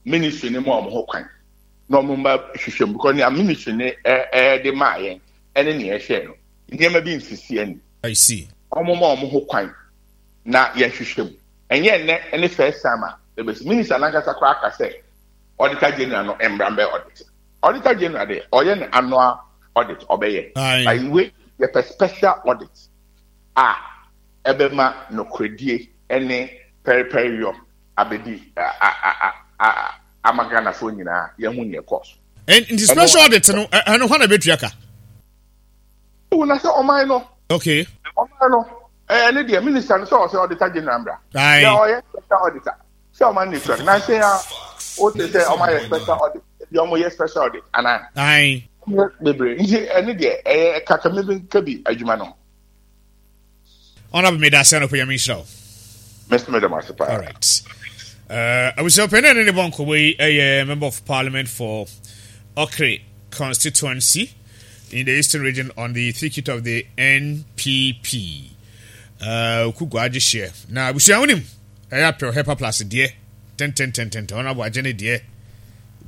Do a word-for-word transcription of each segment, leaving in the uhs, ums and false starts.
Ministry ne mu a ɔmo ho kwan na ɔmo mba hwehwɛ mu, because nea ministry ne ɛ ɛde maa yɛn ɛne nea ɛhyɛ no, nneɛma bi nsisi ani. I see. Ɔmo ma ɔmo ho kwan na yɛhwehwɛ mu. Ɛnyɛ nnɛ ɛne first time a ebesi. Minister nankasa koraa aka sɛ Auditor General no mbra mbɛ audit. Auditor General de, ɔyɛ ne annual audit, ɔbɛyɛ. Aye. Ayiwe, yɛpɛ special audit a ɛbɛma nokoredie ɛne pɛrepɛreyɔ abɛdi a a a a ama Ghanafoɔ nyinaa yɛho neɛ kɔɔ so. Nti special audit no, ɛno hɔ na bɛtua ka? Wo na sɛ ɔman no. Okay. Ɔman no, ɛɛ ne deɛ, minister no sɛ ɔsɛ Auditor General mbra. Aye. Yɛ ɔyɛ special auditor sɛ ɔman ne tua na nse ya o te sɛ ɔman yɛ special audit ebi, ɔmo yɛ special audit ana? Aye. Bebree, nti ɛne deɛ, ɛyɛ kakami bi nka bi adwuma no. Honorable, meda ase anɔpɛ, Nyame nhyira wo. Mɛsɛ mɛdɛm ase paa. All right. Uh, abusua panyin ne ne bɔ nkɔmɔ yi ɛyɛ Member of Parliament for Okere Constituency in the Eastern Region on the ticket of the N P P. Uh, Okugu agye hyɛ na abusua wonim ɛyɛ apɛ Hepa Plus deɛ tententententen. Ɔno agye ne deɛ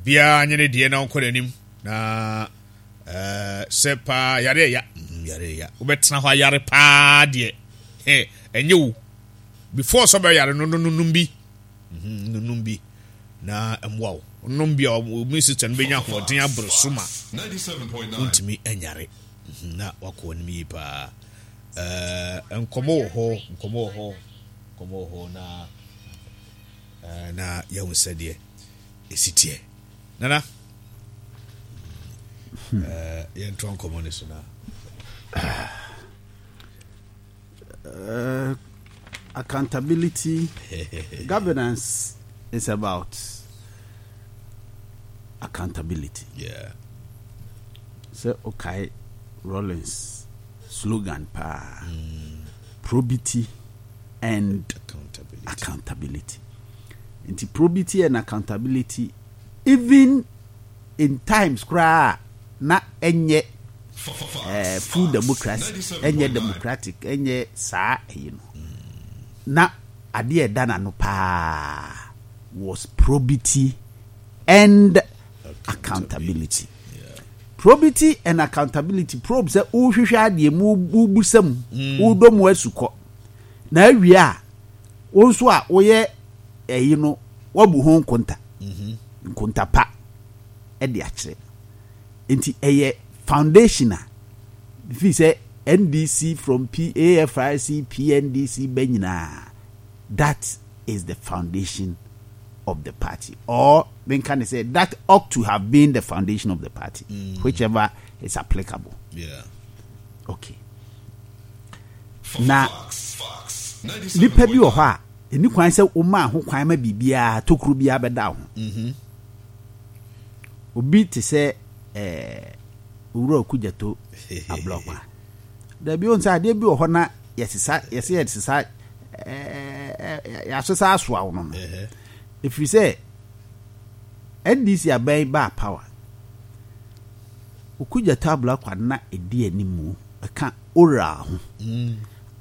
biara nye ne deɛ na ɔnkɔ n'anim na uh, sɛ paa yare ɛya mm, yare ɛya, wobɛtena hɔ ayare paa deɛ, ɛnyɛ wo before sɛ ɔbɛyare no no nom bi, nom bi na mmoa wo. Nom bi a, immune system no bɛnya ahoɔden aboro so ma wontumi anyare na wakɔ anim yie paa. Nkɔmmɔ wɔ hɔ, nkɔmmɔ wɔ hɔ, nkɔmmɔ wɔ hɔ na na yɛhu sɛdeɛ ɛsi teɛ. Nana, yɛntoa nkɔmmɔ no so na Uh, accountability, governance is about accountability. Yeah. Sɛ okay, Rawlings slogan paa, mm. probity and accountability. Accountability. Nti probity and accountability, even in times koraa na ɛnyɛ uh, full democracy, ɛnyɛ democratic, ɛnyɛ saa ɛyi no, na adeɛ ɛda n'ano paa was probity and accountability. Probity and accountability, probe sɛ wohwehwɛ adeɛ mu, wobusa mu, wodɔ mu asukɔ na awie a, wo nso a woyɛ ɛyi no, wabu ho nkonta, nkonta pa ɛde akyerɛ. Nti ɛyɛ foundation a fi sɛ N D C from P A F R C, P N D C bɛ nyinaa, that is the foundation of the party, or menka ne sɛ that ought to have been the foundation of the party, mm. whichever is applicable. Yeah. Okay, na nipa bi wɔ hɔ a ɛni kwan sɛ womaa ho kwan ma biribiara tokuro biara bɛda wo ho. Mm-hmm. Obi te sɛ ɛɛ Owura Okudzeto Ablakwa, dabi o, sɛ adeɛ bi wɔ hɔ na yɛsesa, yɛsɛ yɛsesa, ɛɛ yɛasesa asoa wo no no ɛfiri sɛ N D C aban baa power, Okudzeto Ablakwa na ɛdi animu ɛka ORAL ho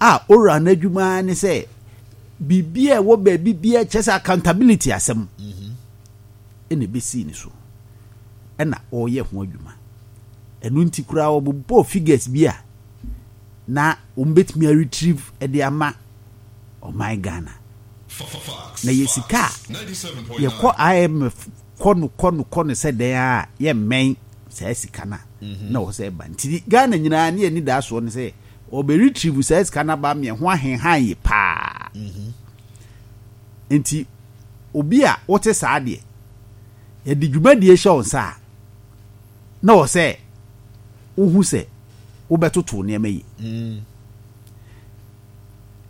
a ORAL no adwuma ne sɛ biribi a ɛwɔ baabi biara kyerɛ sɛ accountability asɛm ɛna ɛbɛsii ne so ɛna ɔreyɛ ho adwuma. Ɛno nti koraa wɔbobɔɔ figures bi a na wɔn bɛtumi aretrieve de ama ɔman Ghana na yɛ sika a yɛkɔ I M F kɔ no kɔ no kɔ no sɛ dɛn a yɛmmɛn saa sika no a na wɔ sɛ ɛba. Nti Ghana nyinaa ne yɛni daa soɔ no sɛ ɔbɛ retrieve saa sika no aba meɛ ho ahenhan yɛ paa. Nti obi a wote saa deɛ, yɛde dwumadie hyɛ wo nsa a, na wɔ sɛ wohu sɛ wobɛtoto nneɛma yi.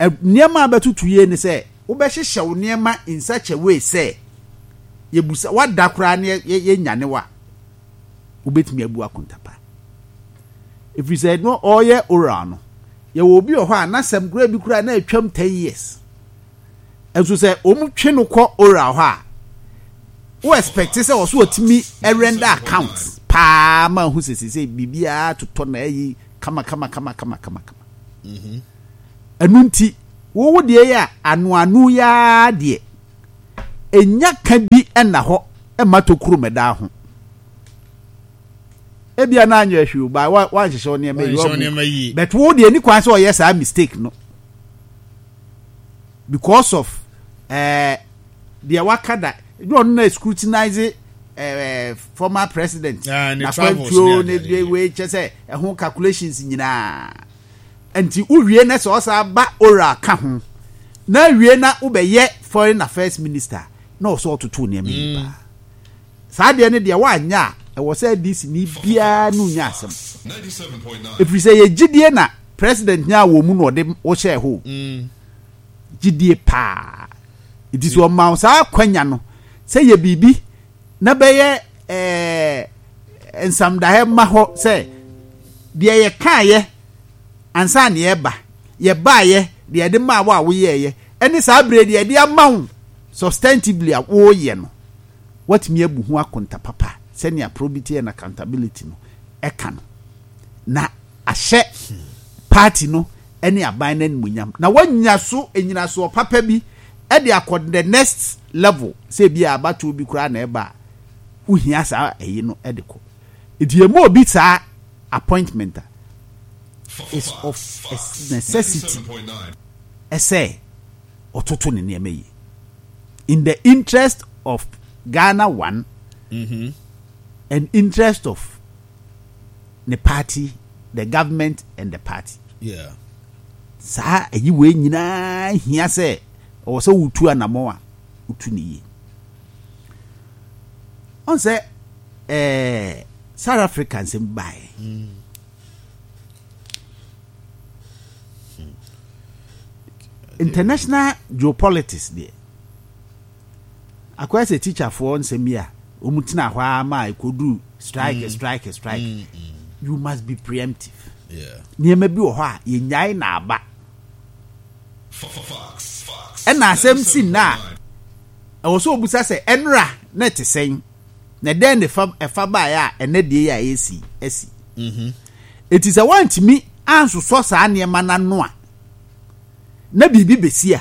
Nneɛma a bɛtoto yie ne sɛ wobɛhyehyɛ wo nneɛma in such a way sɛ yɛbusa wada koraa ne yɛnyane wa, wobɛtumi abu akontapa, ɛfiri sɛ no ɔyɛ ORAL no, yɛwɔ obi wɔ hɔ a n'asɛm koraa bi koraa na atwam ten years, nso sɛ wɔn twe no kɔ ORAL hɔ a, wo expect sɛ ɔso ɔtumi render account paa ma ho sɛ sɛ biribiara totɔ na ɛyi kama kama kama kama kama kama. Ɛnu nti wowo deɛ yɛ a ano ano yaa deɛ enya ka bi ɛna hɔ. Ɛmma tokuro mɛda ho. Ebia na anyɛ hwee o, ba wa wanhyehyɛ wo nneɛma yi. Wanhyehyɛ wo nneɛma yie. But wo deɛ ni kwan sɛ ɔyɛ saa mistake no because of ɛɛ deɛ waka da ɛdi ɔno na scrutinize ɛɛ former president Ah, ne travels n'akwantuo ne ne adeade. de wei kyɛ sɛ ɛho calculations nyinaa. Nti wowie na sɛ ɔsa ba oral ka ho na wie na wobɛyɛ foreign affairs minister na ɔsɛ ɔtoto nneɛma yi paa. Saa deɛ no deɛ woanyɛ a, ɛwɔ sɛ N D C ni biara no nya asɛm, ɛfiri sɛ yɛ gyidie na president nya wɔ mu na ɔde wohyɛɛ hɔ. Mm. Gyidie paa nti sɛ ɔma wo saa akwanya no sɛ yɛ biribi na bɛyɛ ɛɛ nsamdaeɛ ma hɔ sɛ deɛ yɛkaeɛ ansa ne yɛba, yɛbaeɛ, deɛ yɛde maa wo a woyɛɛyɛ, ɛne saa berɛ deɛ yɛde ama wo substantively a woyɛ no, watumi abu ho akonta papa sɛnea probity and accountability no ɛka no, na ahyɛ party no ne aban no animonyam, na wanya so enyinasoɔ papa bi ɛde akɔ the next level, sɛ ebi a abatoɔ bi koraa na ɛba a wohia saa ɛyi no ɛde kɔ. Nti emu obi saa appointment a is of a necessity ɛsɛ ɔtoto ne nneɛma yi in the interest of Ghana one Mm-hmm. and interest of the party, the government and the party. Yeah. Saa ɛyi wei nyinaa hia sɛ ɔwɔ sɛ wotu anammɔn a wotu ne yie. Ɔn sɛ ɛɛ South Africa nsɛm baeɛ, international geopolitics deɛ, akɔyɛ sɛ teacherfoɔ nsɛm yi a wɔn tena hɔ ara ma ɛkɔduru strike, strike, strike. You must be preemptive. Yeah. Nneɛma bi wɔ hɔ a yɛnyae na aba ɛna asɛm si nna a ɛwɔ sɛ obusa sɛ ɛnora na ɛte sɛn na ɛdɛn ne fa ɛfa baeɛ a ɛnɛ deɛ yi a ɛsi ɛsi. Mm-hmm. Eti sɛ wɔntumi ansosɔ saa nneɛma n'ano a na biribi besi a,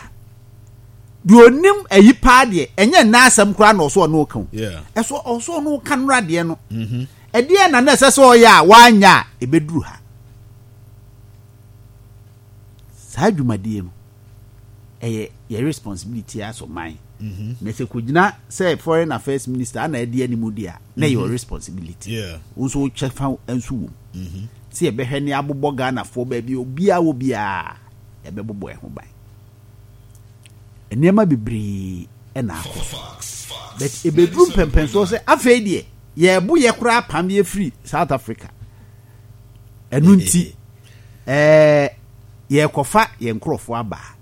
deɛ onim ayi paa deɛ, ɛnyɛ nna asɛm koraa na ɔso ɔno ka o. Yeah. Ɛso ɔso ɔno ka nora deɛ no, Mm-hmm. ɛdeɛ na na ɛsɛ sɛ ɔyɛ a wanya a ɛbɛduru ha. Saa dwumadie no ɛyɛ yɛ responsibility as ɔman, Mm-hmm. na sɛ kɔgyina sɛ foreign affairs minister ana ɛdi anim deɛ a, na ɛyɛ your responsibility. Yeah. Wo nso wokyɛ fa nso wɔ mu Mm-hmm. sɛ yɛbɛhwɛ ne abobɔ Ghanafoɔ baabi a obiara wɔ biara, yɛbɛbobɔ ɛho ban. Nneɛma bebree ɛna akɔ so, but ebeduru mpɛmpɛnsoɔ sɛ afei deɛ yɛɛbo yɛ koraa pam yɛfiri South Africa. Ɛno nti ɛɛ yɛrekɔfa yɛn nkurɔfoɔ aba a,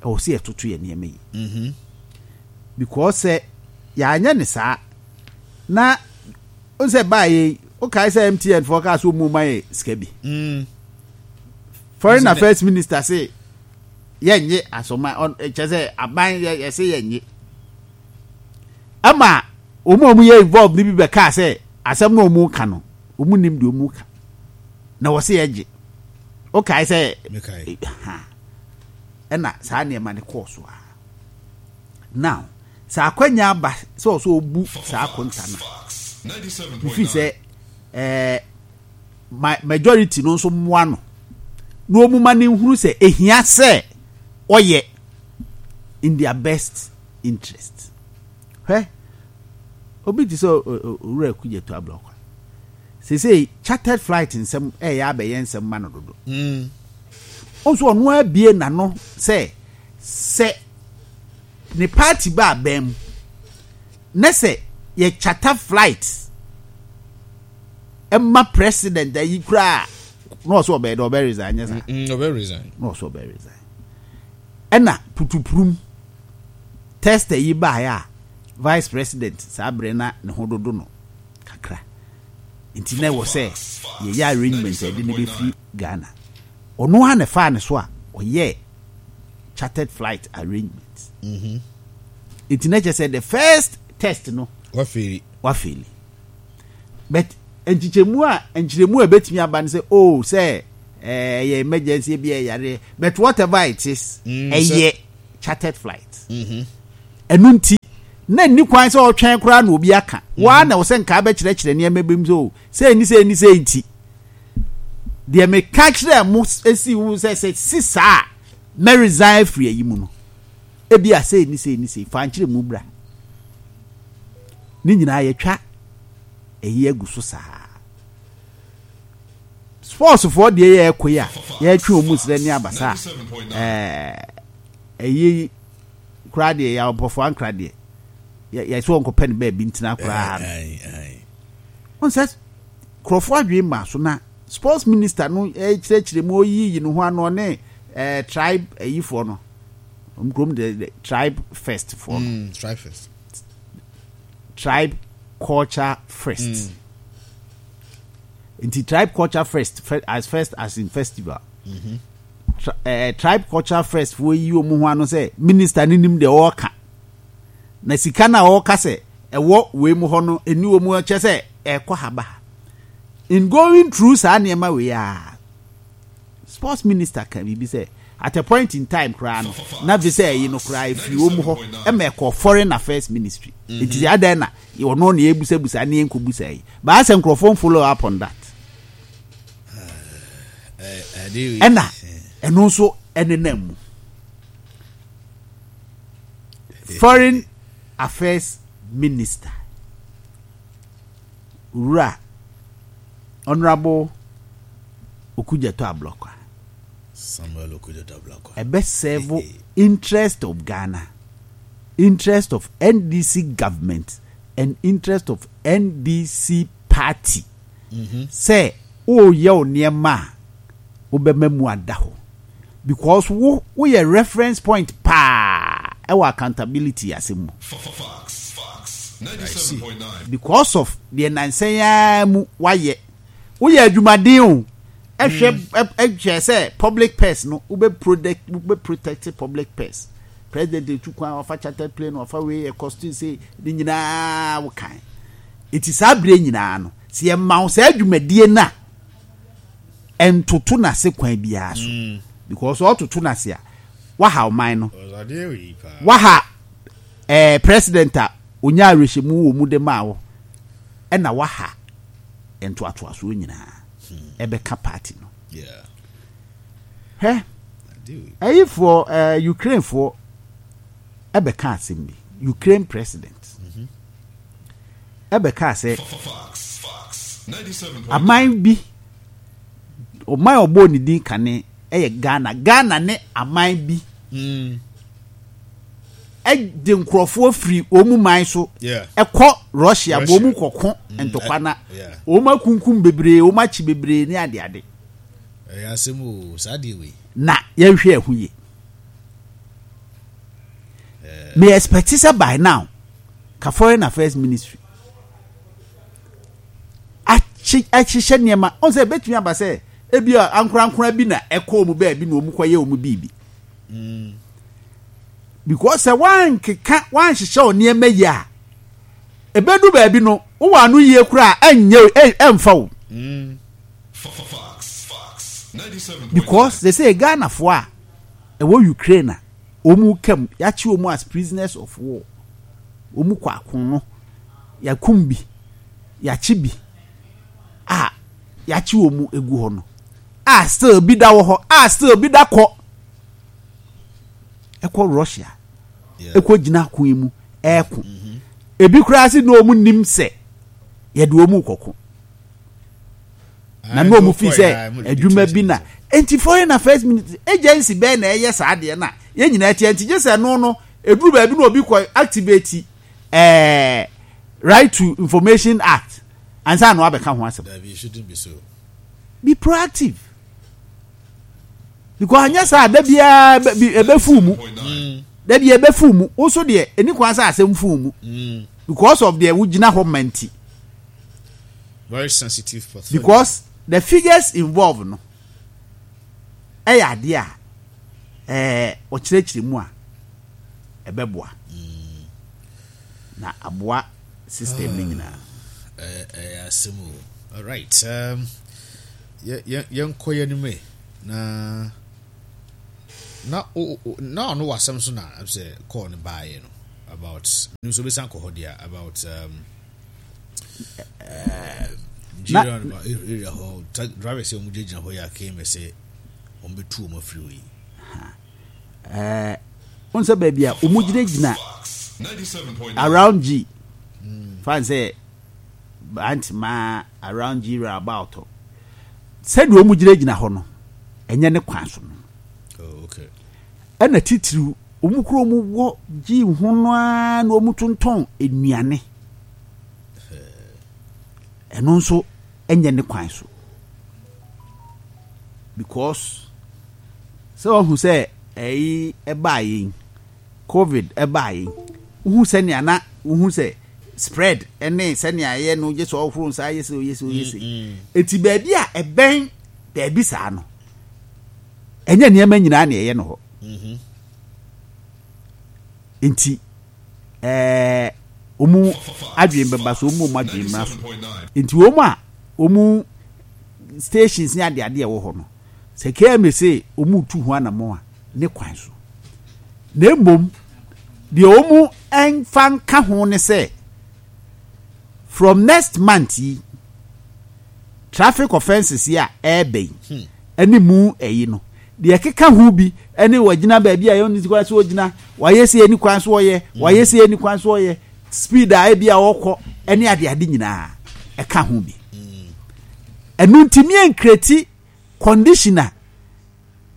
ɛwɔ sɛ yɛtoto yɛn nneɛma yi Mm-hmm. because sɛ yɛanyɛ ne saa na n sɛ baa yɛ, wokae sɛ M T N foɔ kaa sɛ ɔmu ma yɛ sika bi. Mm. Foreign Isn't it- affairs minister se yɛnye asɔma ɔn- kyerɛ sɛ aban yɛ yɛse yɛnye ama wɔn a wɔyɛ involved ne bi bɛkaa sɛ asɛm na wɔn ka no, wɔn nim deɛ wɔn ka na wɔse yɛgye. Wokae sɛ Mekae. Ha ɛna saa nneɛma no kɔɔ so a, now sɛ akwanya aba sɛ ɔsɛ ɔbu saa akonta no, mefi sɛ ɛɛ ma majority no nso mmoa no na wɔn ma ne nhunu sɛ ehia sɛ ɔyɛ in their best interest. Hwɛ, obi te sɛ Owura Okudzeto Ablakwa, sese chartered flight nsɛm ɛyɛ abɛyɛ nsɛm ma no dodo. Mm. Nso ɔno abie n'ano sɛ sɛ ne party ba abɛn mu ne sɛ yɛ charter flight ɛma president ayi koraa na ɔsɛ ɔbɛyɛ dɛ ɔbɛ resign, nyɛ saa? Mm, ɔbɛ resign. Na ɔsɛ ɔbɛ resign. Ɛna putupurum test yi baeɛ a, vice president saa berɛ na ne ho dodo no kakra, nti na ɛwɔ sɛ yɛyɛ arrangement a yɛde ne bɛfiri Ghana. Ɔno ara na ɛfaa ne so a ɔyɛ chartered flight arrangement. Mm-hmm. Nti na kyerɛ sɛ the first test no Wafail. Wafail, but nkyekyɛmu a nkyerɛmu a ɛbɛtumi aba no sɛ, oh, sɛ ɛyɛ emergency bi, ɛyɛ, but whatever it is, Mm, ɛyɛ chartered flight. Mm-hmm. Ɛno nti Na nni kwan sɛ ɔtwɛn koraa na obi aka waa na ɔsɛ nkaa bɛkyerɛkyerɛ nneɛma bi mu sɛ o, sɛ ni sɛ ni sɛ nti deɛ meka kyerɛ mo esi wo sɛ sɛ si saa mɛ resign afiri ayi mu no, ebi a sɛ ni sɛ ni sɛ fa nkyerɛ mu bra ne nyinaa yɛtwa ɛyi agu so. Saa sportsfoɔ deɛ, yɛ ɛkɔ yi a yɛtwe wɔn mu srɛ ne abasa a ɛɛ ɛyi koraa deɛ, yɛ abɔfo ankra deɛ, yɛ yɛ sɛ wɔnkɔpɛ no baabi ntena koraa no. Wɔn sɛ nkurɔfoɔ adwene ma so na sports minister no ɛkyerɛkyerɛ mu, oyiyi ne ho ano, ɔne ɛɛ tribe ɛyifoɔ no, wɔn kurom de de tribe first foɔ no. Mm, tribe first. Tribe culture first mm. Nti tribe culture first, as first as in festival mm -hmm. Tri uh, tribe culture first foɔ yi wɔn ho ano sɛ minister ne nim deɛ ɔreka na sika na ɔreka sɛ ɛwɔ wei mu hɔ no ɛni wɔn mu, kyɛ sɛ ɛkɔ ha ba ha. In going through saa nneɛma wei a, sports minister ka biribi sɛ at a point in time koraa no, na fi sɛ ɛyi no koraa efiri wɔn mu hɔ ɛma ɛkɔ Foreign Affairs Ministry mm -hmm. Nti sɛ adan na ɔno na ebusabusa ne yɛn nkɔbusa yi baasa, nkurɔfoɔ follow up on that. Ɛna ɛno nso ɛnenam mu. Foreign Affairs Minister, Wura Honourable Okudzeto Ablakwa, Samuel Okudzeto Ablakwa, ɛbɛ serve interest of Ghana, interest of N D C government and interest of N D C party sɛ woyɛ wo nneɛma a wobɛma mu ada hɔ, because wo woyɛ reference point paa ɛwɔ accountability asɛm mu because of deɛ nansɛn ara mu wayɛ. Woyɛ adwumaden o, ɛhwɛ ɛhwɛ sɛ public purse no, wobɛ protect wobɛ protect public purse. President etu kwan, wafa chartered plane, wafa wei, ɛkɔsto sɛ ne nyinaa wo kan. Eti saa abere nyinaa no, sɛ yɛma wo saa adwumadie no a, ɛntoto n'ase kwan biara so, because ɔtoto n'ase a, waha ɔman no, waha ɛɛ president a onya awerɛhyɛmu wɔ mu de maa wo, ɛna waha ntoatoasoɔ nyinaa ɛbɛka party no. Hwɛ, ɛyifoɔ, ɛɛ Ukrainefoɔ ɛbɛka asɛm bi. Ukraine president ɛbɛka sɛ aman bi, ɔman a ɔbɔɔ ne din kane ɛyɛ Ghana. Ghana ne aman bi ɛde nkurɔfoɔ firi wɔn mu man so ɛkɔ Russia bɔ wɔn kɔko ntɔkwa na wɔn akunkum bebree, wɔn akyi bebree ne adeade. Ɛyɛ asɛm o, saa deɛ wei. Na yɛnhwɛ ɛho yie. Me expect sɛ by now ka Foreign Affairs Ministry akyi ahyehyɛ nneɛma ɔn sɛ ebetumi aba sɛ ebi a ankorankora bi na ɛkɔ wɔn baabi na wɔn kɔyɛ wɔn biribi, because sɛ wankeka wanhyehyɛ wɔn nneɛma yie a, ebedu baabi no, wowɔ ano yie koraa ɛnyɛ ɛnfa wo, because they say Ghanafoɔ a ɛwɔ Ukraine a wɔn kam yɛakye wɔn as prisoners of war, wɔn kɔ ako no, yɛakum bi, yɛakye bi a yɛakye wɔn egu hɔ no a, still bi da wɔ hɔ a, still bi da kɔ ɛkɔ Russia ɛkɔ gyina ako yi mu ɛɛko. Ebi koraa si na wɔn nim sɛ yɛde wɔn kɔko na na wɔn fi sɛ adwuma bi na nti Foreign Affairs Ministry agency bɛɛ na ɛyɛ saa adeɛ na yɛn nyinaa tiɛ. Nti gye sɛ no no eduru baabi na obi kɔ activate ɛɛ Right to Information Act ansa na wabɛka ho asɛm. Be proactive, because anyɛ saa, da biara ɛbɛfu mu, da biara ɛbɛfu mu. Woso deɛ ɛni kwan sɛ asɛm fu mu because of deɛ wogyina hɔ ma nti. Very sensitive portfolio. Because the figures involved no ɛyɛ adeɛ a ɛɛ ɔkyerɛkyerɛ mu a ɛbɛboa na aboa system no nyinaa. Ɛyɛ asɛm o. Alright, um, yɛnkɔ yɛn anim na na na ɔno wɔ asɛm so na sɛ kɔɔ no baeɛ no. About nso bɛsan kɔ hɔ deɛ about um, uh, Nigeria area hɔ drivers sɛ wɔn gyinagyina hɔ yɛ a K M A sɛ wɔn bɛtu wɔn afiri hɔ yi. Ɛɛ wɔn sɛ baabi a wɔn gyinagyina around G fan sɛ Bantama around G roundabout sɛdeɛ wɔn gyinagyina hɔ no ɛnyɛ ne kwan so no. Oh, okay. Ɛna titiriw wɔn kuro wɔn wɔ G ho no ara na wɔn tontɔn nnuane. Ɛno nso ɛnyɛ ne kwan so because sɛ wɔn sɛ ɛyi ɛbaa yɛn COVID ɛbaa yɛn wohu sɛnea na wohu sɛ spread ɛne sɛnea ɛyɛ no gye sɛ ɔhoro nsa ayɛ sɛ oyɛ sɛ oyɛ sɛ eti baabi a ɛbɛn baabi saa no ɛnyɛ nneɛma nyinaa na ɛyɛ no hɔ nti ɛɛ wɔn adwene bɛba so wɔn wɔn adwene mmra so nti wɔn a wɔn stations ne adeade a ɛwɔ hɔ no sɛ K M A sɛ wɔn tu ho anamɔ a ne kwan so na mmom deɛ wɔn mfa nka ho ne sɛ from next month yi traffic offences yi a ɛɛbɛ yi ɛne mu ɛyi no deɛ ɛkeka ho bi ɛne wɔgyina baabi a yɛn kwan so wɔgyina wɔayɛ sɛ ɛni kwan so wɔyɛ wɔayɛ sɛ ɛni kwan so wɔyɛ speed a ebi a wɔkɔ ɛne adeade nyinaa ɛka ho bi ɛnu ntumi nkreti condition a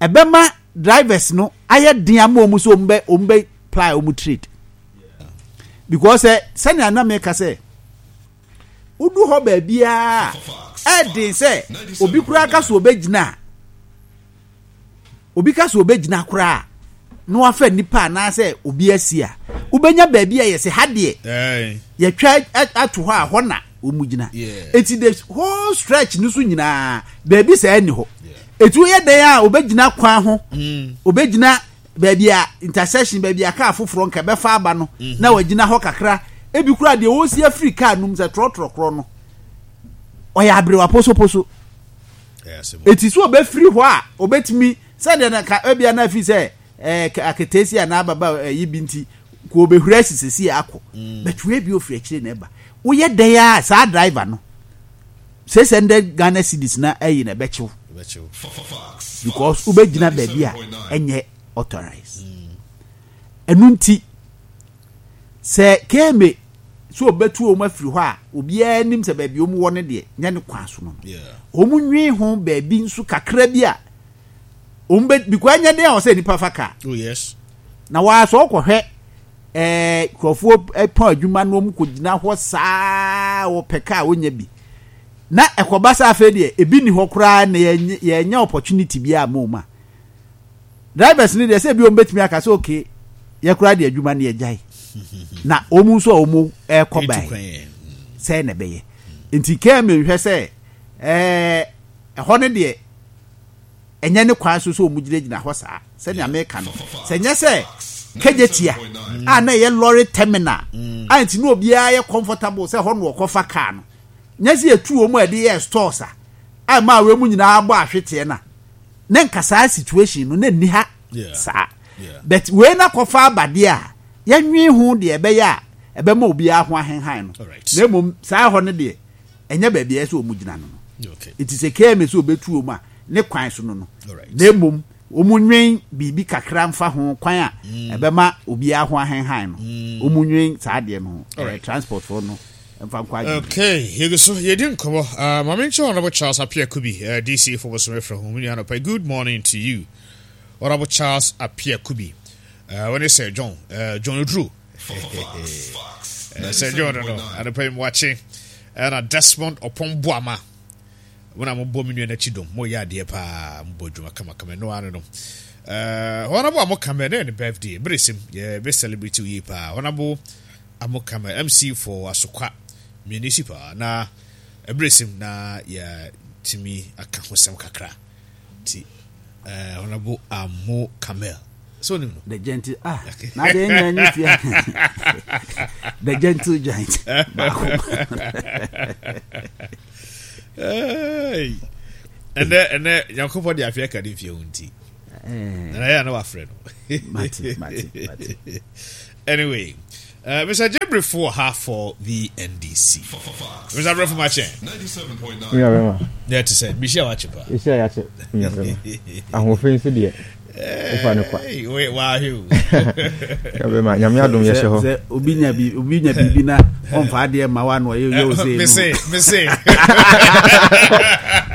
ɛbɛma drivers no ayɛ den ama wɔn so wɔn bɛ wɔn bɛ ply wɔn trade because ɛ sɛnea anam ka sɛ wodu hɔ baabiara ɛden sɛ obi koraa ka so obɛgyina obi ka so obɛgyina koraa na wafa nipa anaasɛ obi asi a wobɛnya baabi a yɛsɛ ha deɛ yɛtwa ato hɔ a hɔ na wɔn gyina eti the whole stretch no so nyinaa baabi sɛ ɛni hɔ eti woyɛ dan a obɛgyina kwan ho obɛgyina baabi a intersection baabi a kaa foforɔ nka bɛfa aba no na wagyina hɔ kakra ebi kura deɛ wɔsi afiri kaa num sɛ trɔtrɔ korɔ no ɔyɛ aberewa posoposo eti so ɔbɛfiri hɔ a ɔbɛtumi sɛdeɛ na ka ebia na afi sɛ ɛɛ aketeesi anaa ababa ɛyi bi nti ko ɔbɛhuri asisisi akɔ bɛtwe ebi ofiri akyire na ɛba woyɛ dan a saa driver no six hundred Ghana cedis na ɛyi na ɛbɛkyew because wobɛgyina baabi a ɛnyɛ authorized ɛnu nti sɛ K M A so ɔbɛtu wɔn afiri hɔ a obiara nim sɛ baabi wɔn wɔ no deɛ nyɛ ne kwan so no wɔn nwi ho baabi nso kakra bi a wɔn bɛ because ɛnyɛ den a ɔsɛ nipa fa kaa. Oh yes. Na wɔasɔ ɔkɔhwɛ ɛɛ nkurɔfoɔ ɛpɔn adwuma no wɔn kɔ gyina hɔ saa wɔpɛ kaa wɔnya bi na ɛkɔba saa afei deɛ ebi ni hɔ koraa na yɛnyɛ yɛnyɛ opportunity bi a mo ma drivers ni deɛ sɛ ebi wɔn bɛtumi aka sɛ okay yɛ koraa deɛ adwuma no yɛ gyae na wɔn nso a wɔn ɛrekɔ ban sɛ na ɛbɛyɛ nti kɛn mi nhwɛ sɛ ɛɛ ɛhɔ no deɛ ɛnyɛ ne kwan so sɛ wɔn gyinagyina hɔ saa sɛnea meka no sɛ nyɛ sɛ Kejetia a na ɛyɛ lorry terminal a nti na obiara yɛ comfortable sɛ hɔ no wɔkɔfa kaa no nyɛ sɛ yɛtu wɔn a yɛde yɛ stores a a maa wɔn mu nyinaa bɔ ahweteɛ na ne nka saa situation no na nni ha saa but wei na kɔfa abadeɛ a yɛnwe ho deɛ ɛbɛyɛ a ɛbɛma obiara ho ahenhan no na mmom saa hɔ no deɛ ɛnyɛ baabi a ɛsɛ wɔn gyina no no nti sɛ K M A sɛ obetu wɔn a ne kwan so no no na mmom wɔn nwen biribi kakra mfa ho kwan a ɛbɛma obiara ho ahenhan no wɔn nwen saa adeɛ no ho transport foɔ no mfa nkɔ adwuma. Okay, yɛgu so yɛdi nkɔmmɔ. Maame nkyɛn Honorable Charles Appiah Kubi, D C for Bosome Frɛ ho mu nua anɔpa. Good morning to you, Honorable Charles Appiah Kubi. Wɔne Sir John, John Oduro. Sir John no, anɔpa yi mu wakye. Ɛna Desmond Opon Boama. When I'm born in Chidom, more yard dear pa, Bojuma come come no, I don't know. Uh, Honorable Amokame, then birthday, Brisim, yeah, best celebrity ye pa, Honorable Amokame, M C for Asokwa Municipal, na Brisim, na ya Timmy Akahosam Kakra. Ti, uh, Honorable Amokame. So, no, the gentle, ah, now the the gentle giant. Hey, and then and then Yankopo the Africa didn't feel unti. And I know a friend. Mati, Mati, Mati. Anyway, uh, Mister Jebrifo wɔ ha for the N D C. Mister Brefo, makyɛ. Nua bɛma. Yeah, te sɛ bihyia wakye pa. Ehyia yɛakyɛ, nua bɛma. Ahoɔfɛ nso deɛ, wofa no kwa. Hey, wait, wahwɛ o. Nua bɛma, Nyame adom, yɛhyɛ hɔ. Sɛ obi nya bi, obi nya biribi na ɔmfa adeɛ ma wa na ɔyɛ yɛ ose. Mese, mese.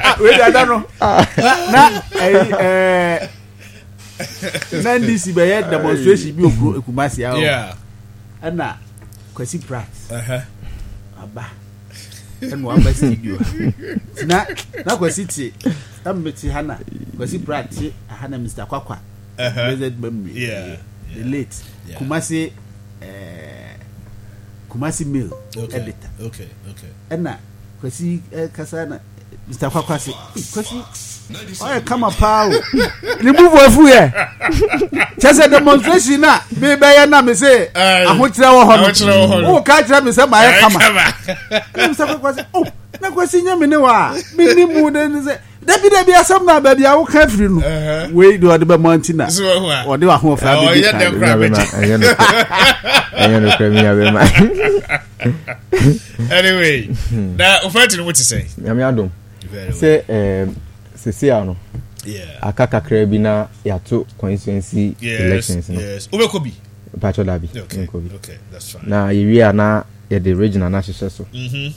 Ah, wei de ada no na na ɛyi ɛɛ na N D C bɛyɛ demonstration bi okuro Ekumasi ahɔ. Yeah. Ɛna Kwasi Pratt Uh-huh. aba, ɛna waba studio ha. Nti na na Kwasi te na mmete ha, na Kwasi Pratt te aha, na Mister Kwakwa, Uh-huh. blessed memory, Yeah. the late Yeah. Kumasi ɛɛ Kumasi Mail Okay. editor. Okay. Okay. Ɛna Kwasi ɛ kasa na Mister Kwakwa se, "Ee, Kwasi ɔyɛ kama paa o, ne bubu afu yɛ kyɛ sɛ demonstration na mebɛyɛ na me se Aye. ahokyerɛ wɔ hɔ." Ahokyerɛ wɔ hɔ no. No wo ka kyerɛ me sɛ maayɛ kama. Kama. Ɛna Mister Kwakwa se, "Oh, na Kwasi nyɛ me ne wa a me ni mu de ne sɛ dabi dabi, asɛm na baabi a woka afiri no." Uh-huh. Wei de ɔde bɛmɔ nti na So, what? ɔde wahoɔfɛ Ɔyɛ abɛdi dɛm kan. koraa. Nua bɛma, ɛnyɛ nokorɛ. Ɛnyɛ nokorɛ, me nua bɛma. Anyway, na ofɛnti no mo te sɛ. Nyame adom. Very well. Sɛ ɛɛm sese ano, Yeah. aka kakra bi na yɛato constituency Yes. elections no. Yes. Wobɛkɔ bi. Mpakyɛ, dabi. Okay. Nkɔ bi. Okay, that's fine. Na yɛwie a, na yɛde regional no ahyehyɛ so. Mhm.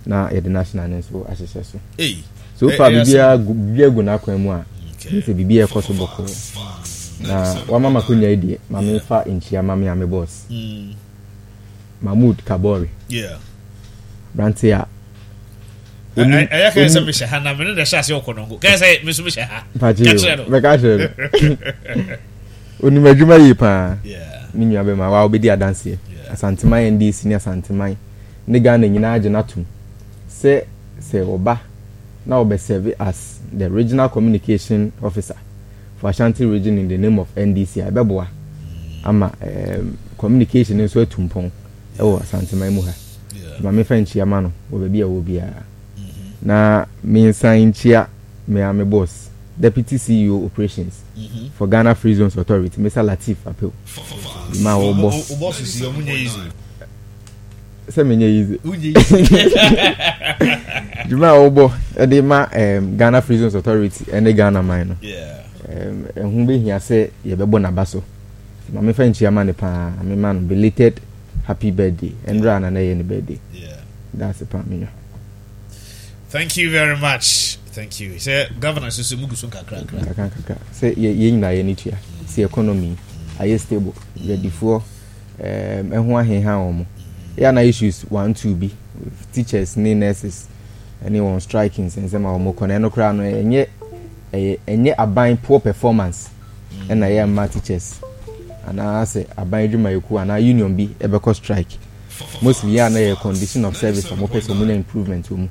Na yɛde national no nso ahyehyɛ so. Hey. So far, Eh, eh, biribiara gu biribiara gu n'akwan mu a, Okay. sɛ biribi ɛkɔ so bɔkɔɔ. Na wama makonya yi deɛ, ma memfa nkyia ma me a me boss, Mm. Mahmood Kabore, Yeah. aberante a onim- Ɛyɛ kɛyɛ sɛ onim- mehyɛ ha na mene na ɛhyɛ ase ɔkɔ nɔnko kɛyɛ sɛ me nso mehyɛ ha. Mpagye. Ka kyerɛ no. Bɛka kyerɛ no, onim adwuma yie paa. Yeah. Me nua bɛma wa wobɛdi adanseɛ. Yeah. Asanteman N D C ne Asanteman ne Ghana nyinaa gye n'atom sɛ sɛ ɔba na ɔbɛserve as the regional communication officer for Ashanti Region in the name of N D C a, ɛbɛboa ama um, communication nso atu mpɔn ɛwɔ Asanteman mu ha. Yeah. Ma mefa nkyia ma no wɔ baabi a ɛwɔ biara, na mensan nkyia me a me boss, Deputy C E O Operations Mhm. for Ghana Free Zones Authority, Mister Latif Apew, ma wɔbɔ. Wo boss si ɔmo nyɛ easy. Sɛ menyɛ easy. Wonyɛ easy. Dwuma a wɔbɔ ɛde ma um, Ghana Free Zones Authority ɛne Ghana man no, Yeah. um, ɛho bɛhia sɛ yɛbɛbɔ n'aba so. Ma mefa nkyia ma ne paa, mema no belated happy birthday. Ɛnora na na ɛyɛ ne birthday. Yeah. That's paa, me nua. Thank you very much. Thank you. Sɛ governor nso so mugu so nkakra nkakra. Kakra nkakra sɛ yɛ yɛn nyinaa yɛ ne tua sɛ economy ayɛ stable, dwadifoɔ um, ɛho aheha wɔn yɛ ana issues one two bi, teachers ne nurses ɛne wɔn strike nsɛnsɛm a wɔn kɔ na ɛno koraa no, ɛnyɛ ɛyɛ ɛnyɛ aban poor performance ɛna ɛyɛ mma teachers anaasɛ aban adwumayɛkuo anaa union bi ɛbɛkɔ strike. Mostly yɛ a na yɛ condition of service a wɔpɛ sɛ wɔn nya improvement wɔ mu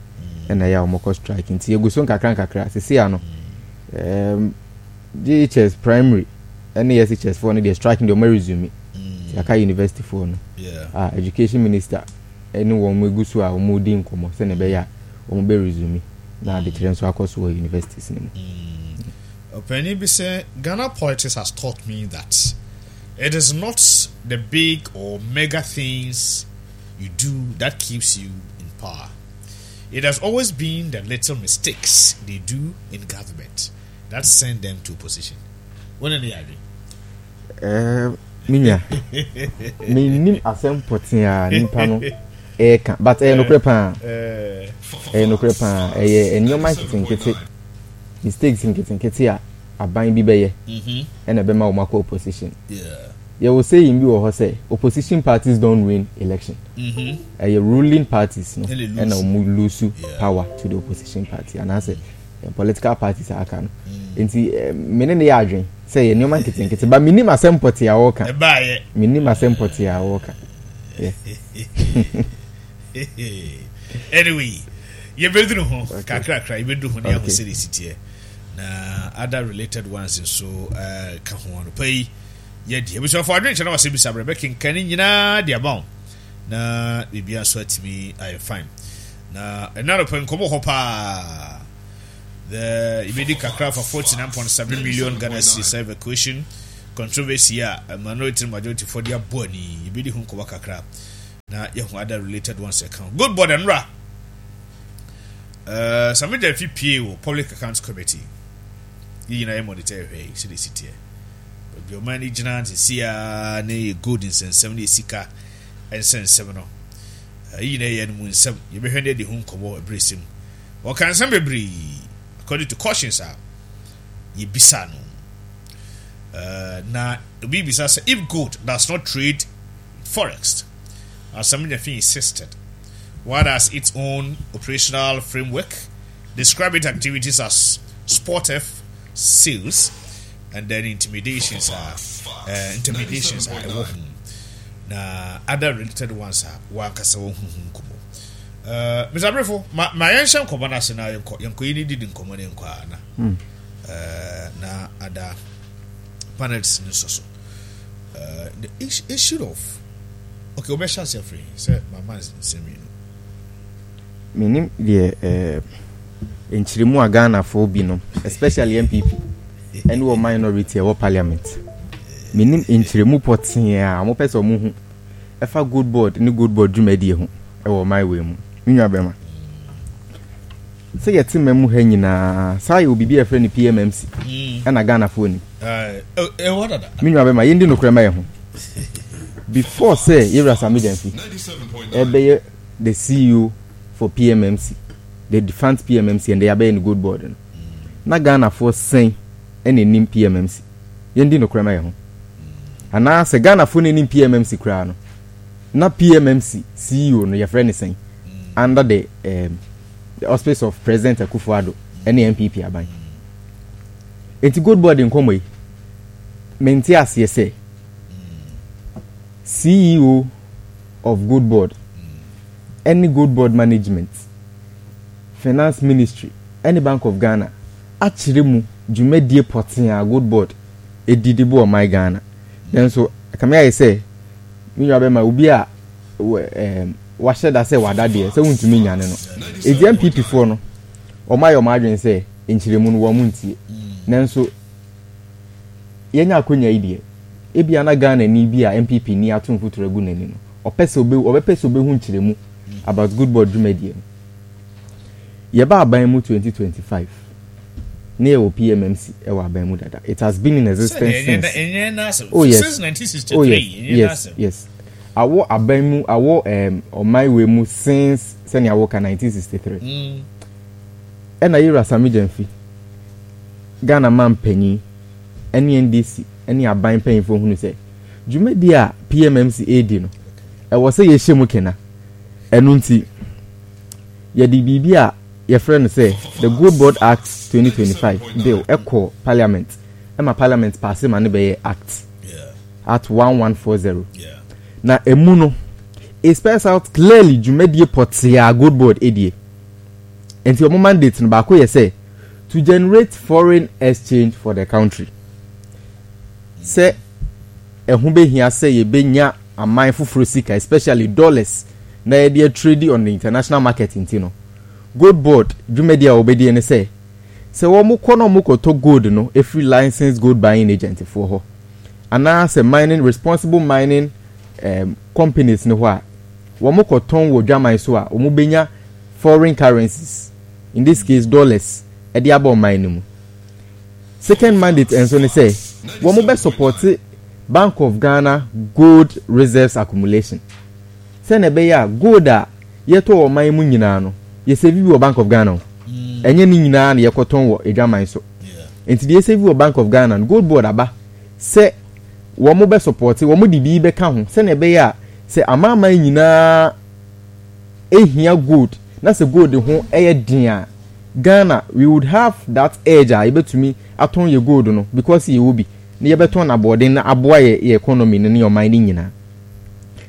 ɛna ɛyɛ a wɔkɔ strike. Nti yɛgu so nkakra nkakra. Sisi ano, um, J H S primary ɛne S H S foɔ no deɛ, strike deɛ wɔn resume. Mm. Yɛaka university foɔ no Yeah. a, education minister ɛne wɔn egu so a wɔn di nkɔmɔ sɛnea ɛbɛyɛ a wɔn bɛ resume na adekyerɛ nso akɔ so wɔ universities no mu. Ɔpanin bi sɛ, "Ghana politics has taught me that it is not the big or mega things you do that keeps you in power. It has always been the little mistakes they do in government that send them to opposition." Wɔn ni yɛ Ɛɛ, me nua, menim asɛm pɔtee a nipa no ɛɛka, but ɛyɛ nokorɛ paa, ɛyɛ nokorɛ paa. Ɛyɛ nneɛma nketenkete, mistakes nketenkete a aban bi bɛyɛ ɛna ɛbɛma wɔn akɔ opposition. Yɛwɔ saying bi wɔ hɔ sɛ opposition parties don't win election, ɛyɛ ruling parties no ɛna wɔn lose power to the opposition party anaasɛ political parties a aka no. Nti mene ne yɛ adwen sɛ yɛ nneɛma nketenkete ba. Menim asɛm pɔtee a wɔreka, menim asɛm pɔtee a wɔreka. Anyway, yɛbɛduru ho kakrakra, yɛbɛduru ho ne aho sɛde siteɛ na other related ones nso uh, ka ho. Anɔpa yi yɛdi abusuafo adwenkyɛ na wasɛ bisa berɛ bɛkenka ne nyinaa de ama wo na biribia nso atumi ayɛ fine. Na ɛna anɔpa nkɔmmɔ hɔ paa, the yɛbɛdi kakra fa forty-nine point seven million Ghana cedis evacuation. Controversy a minority and majority for their body. Yɛbɛdi ho nkɔmmɔ kakra na yɛho other related ones ɛka ho. Gold Board nnora. Uh, Sammy Gyamfi pie wɔ Public Accounts Committee. Yɛ nyinaa yɛ monitor ɛhwɛ yi sɛdeɛ ɛsi teɛ. Baabi ɔman no gyina sisi a ne yɛ gold nsɛnsɛm ne yɛ sika nsɛnsɛm no. Yi nyinaa yɛ no mu nsɛm. Yɛbɛhwɛ ne adi ho nkɔmmɔ ɛberɛ sɛm. Wɔka nsɛm bebree according to cautions a yɛbisa no. Uh, na obi bisa sɛ, if gold does not trade forex, as Sammy Gyamfi insisted, what has its own operational framework, describe its activities as spot F sales and then intimidations are uh, intimidations are ɛwɔ ho na other related ones a wankasa wɔn ho ho nkɔmmɔ. Uh, Mister Abrefo, ma ma yɛnhyɛ nkɔmmɔ no ase na yɛnkɔ yɛnkɔ yi ne didi nkɔmmɔ ne nkɔ a na mm. uh, na ada panels no nso so. Uh, the issue of, okay, wobɛhyɛ ase afiri sɛ mama nsɛm mmienu. Menim deɛ eh, nkyerɛmu a Ghanafoɔ binom, especially N P P ɛne wɔ minority ɛwɔ parliament, menim nkyerɛmu pɔtee a wɔpɛ sɛ wɔn ho ɛfa Gold Board ne Gold Board dwumadie ho ɛwɔ ɔman wei mu. Me nua bɛrima, sɛ yɛte ma mu ha nyinaa saa, yɛ obibi a yɛfrɛ no P M M C ɛna Ghanafoɔ nim. Ɛwɔ dada. Me nua bɛrima, yɛndi nokorɛ ma yɛ ho. Before sɛ yɛwura Sammy Gyamfi ɛbɛyɛ the C E O for P M M C, the defunct P M M C, and yɛabɛyɛ no Gold Board no, na Ghanafoɔ sɛn ɛna ɛnim P M M C? Yɛndi nokorɛ ma yɛ ho. Anaasɛ Ghanafoɔ no anim P M M C koraa no, na P M M C C E O no yɛfrɛ ne sɛn under the um, the auspice of President Akufo-Addo ɛne N P P aban? Nti Gold Board nkɔmmɔ yi, mente aseɛ sɛ C E O of Gold Board ɛne Gold Board management, Finance Ministry ɛne Bank of Ghana akyerɛ mu dwumadie pɔtee a Gold Board ɛdi de bɔ ɔman Ghana. Nanso kame ayɛ sɛ me nua bɛma obi a ɛɛm wahyɛ da sɛ wada deɛ sɛ wontumi nyane no. Eti N P P foɔ no, wɔn ayɛ wɔn adwene sɛ nkyerɛmu no wɔn ntie. Nanso yɛnya akonnwa yi deɛ, ebia na Ghana ni bi a N P P ni ato mfuturo agu n'ani no, ɔpɛ sɛ obe ɔbɛpɛ sɛ obehu nkyerɛmu about Gold Board dwumadie no. Yɛba aban mu twenty twenty-five ne yɛwɔ P M M C ɛwɔ aban mu dada. It has been in existence since, oh yes, since nineteen sixty-three. Oh yes yes yes awɔ aban mu, awɔ um, ɔman wei mu since sɛnea wɔka nineteen sixty-three. Mm. Ɛna yɛwura Sammy Gyamfi, Ghana man panyin, ɛne N D C ɛne aban mpanyinfoɔ hunu sɛ dwumadi a P M M C edi no, ɛwɔ sɛ yɛhyɛ mu kena. Ɛno nti yɛde biribi a yɛfrɛ no sɛ the Gold Board Act twenty twenty-five bill ɛkɔ parliament, ɛma parliament pass ma ne bɛyɛ act Yeah. Act one one four zero. Yeah. Na emu no, it spells out clearly dwumadie pɔtee a Gold Board edie. Nti wɔn mandate no baako yɛ sɛ to generate foreign exchange for the country, sɛ ɛho behia sɛ yɛbɛnya aman foforɔ sika, especially dollars, na yɛde trade on the international market. Nti no, Gold Board dwumadie a wɔbɛdie ne sɛ sɛ wɔn kɔ na wɔn kɔtɔ gold no efiri licensed gold buying agent foɔ hɔ anaasɛ mining, responsible mining um, companies ne hɔ a, wɔn kɔtɔn wɔ dwaman so a, wɔn bɛnya foreign currencies, in this case dollars, ɛde aba ɔman no mu. Second mandate nso ne sɛ wɔn bɛ support Bank of Ghana gold reserves accumulation, sɛnɛ ɛbɛyɛ a gold a yɛtɔ wɔ ɔman mu nyinaa no, yɛsave bi wɔ Bank of Ghana o. Ɛnyɛ ne nyinaa na yɛkɔtɔn wɔ adwaman so. Nti deɛ yɛsave wɔ Bank of Ghana no, Gold Board aba sɛ wɔn bɛ support, wɔn de bi bɛka ho, sɛnɛ ɛbɛyɛ a sɛ amanaman nyinaa ehia gold na sɛ gold ho ɛyɛ den a, Ghana, we would have that edge a yɛbɛtumi atɔn yɛ gold no, because yɛwɔ bi na yɛbɛtɔn n'aboɔden na aboa yɛ yɛ economy no ne ɔman no nyinaa.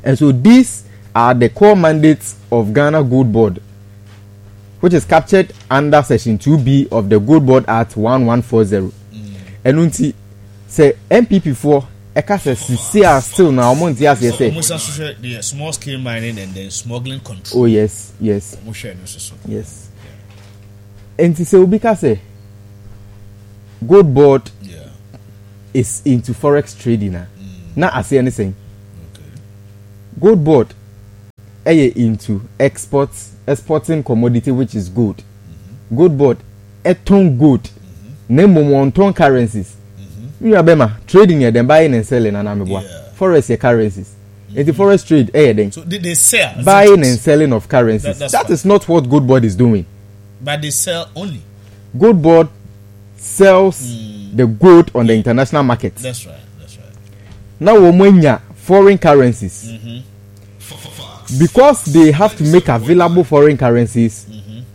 And so these are the core mandates of Ghana Gold Board, which is captured under section two B of the Gold Board Act one one four zero. Ɛno nti sɛ N P P foɔ ɛka sɛ sisi a still na wɔn nte aseɛ sɛ ɔmo san so hwɛ the small scale mining and then smuggling control. Oh yes yes Ɔmo hwɛ no soso. Yes, nti sɛ obi ka sɛ Gold Board Yeah. is into forex trading a, na aseɛ ne sɛn? Gold Board ɛyɛ into export exporting commodity, which is gold. Gold Board ɛtɔn gold, na mmom wɔntɔn currencies. Nua bɛma, trading yɛ dɛn? Buying and selling, anaa meboa? Yeah. Forex yɛ currencies, nti forex trade ɛyɛ dɛn? So they, they sell, isn't Buying it? And selling of currencies. That- that's That right. is not what Gold Board is doing. But they sell only. Gold Board sells the gold on the international market. That's right. That's right. Na wɔn anya foreign currencies. Because they have to make available foreign currencies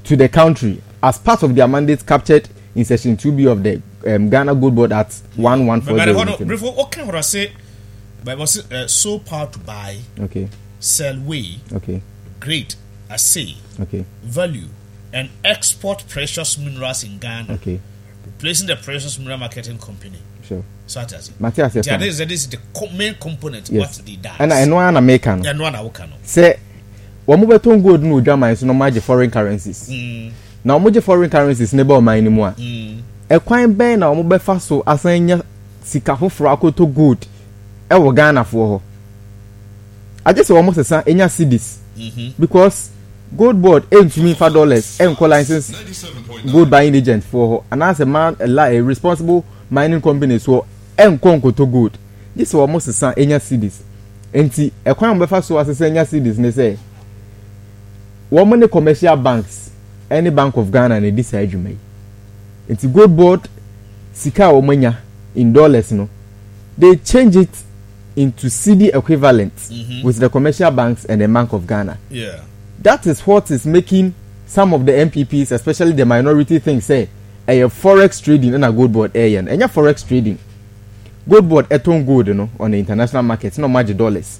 to the country as part of their mandate captured in section two B of the um, Ghana Gold Board Act But but hold on, one one four zero. Briefo, okay, what I say, but was it uh, so power to buy, Okay, sell, weigh, okay, grade, assay, okay, value, and export precious minerals in Ghana, okay, replacing the Precious Mineral Marketing Company. sure. So that is it. Mate ase. That Fine. is, that is the co- main component. Yes. What they does. Ɛna ɛno ara na meka no. Yeah, no one can. Sɛ wɔn bɛtɔn gold no odwaman so na wɔn agye foreign currencies. Mm, Na wɔn gye foreign currencies ne ba ɔman no mu a, mm, ɛkwan bɛn na wɔn bɛfa so asan nya sika foforɔ akɔtɔ gold ɛwɔ Ghanafoɔ hɔ? Agye sɛ wɔn sesa enya cedis, mm-hmm. because Gold Board ɛntumi nfa dollars ɛnkɔ license gold buying agent foɔ hɔ anaasɛ man ɛla ɛ responsible mining companies hɔ ɛnkɔ nkɔtɔ gold, gye sɛ wɔn sesa enya cedis. Nti ɛkwan a wɔn bɛfa so asesa enya cedis ne sɛ wɔn ne commercial banks ɛne Bank of Ghana na edi saa adwuma yi. Nti Gold Board sika a wɔn anya in dollars no, they change it into cedi equivalent Mhm. with the commercial banks and the Bank of Ghana. Yeah. That is what is making some of the N P Ps, especially the minority, think say ɛyɛ forex trading ɛna Gold Board ɛyɛ no. Ɛnyɛ forex trading. Gold Board ɛtɔn gold no on the international market na ɔmo agye dollars.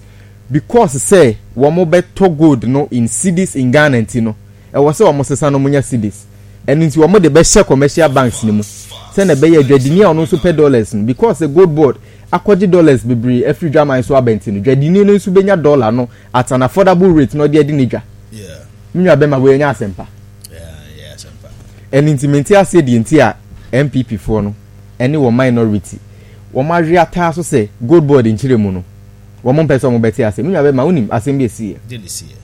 Because sɛ wɔn bɛtɔ gold no in cedis in Ghana nti no, ɛwɔ sɛ wɔn sesa no, wɔn nya cedis. Ɛno nti wɔn de bɛhyɛ commercial banks ne mu sɛnɛ ɛbɛyɛ dwadini a ɔno nso pɛ dollars no, because the Gold Board akɔgye dollars bebree afiri dwaman so aba nti no, dwadini no nso bɛnya dollar no at an affordable rate na ɔde adi ne dwa. Yeah. Me nua bɛma, wei nyɛ asɛmpa. Yeah. Yeah. Sempa. Ɛno nti mente aseɛ deɛ nti a N P P foɔ no ɛne wɔn minority wɔn awe ataa so sɛ Gold Board nkyerɛ mu no, wɔn mpɛ sɛ wɔn bɛte ase. Me nua bɛma, wonim asɛm bi esi yɛ? Didn't see it.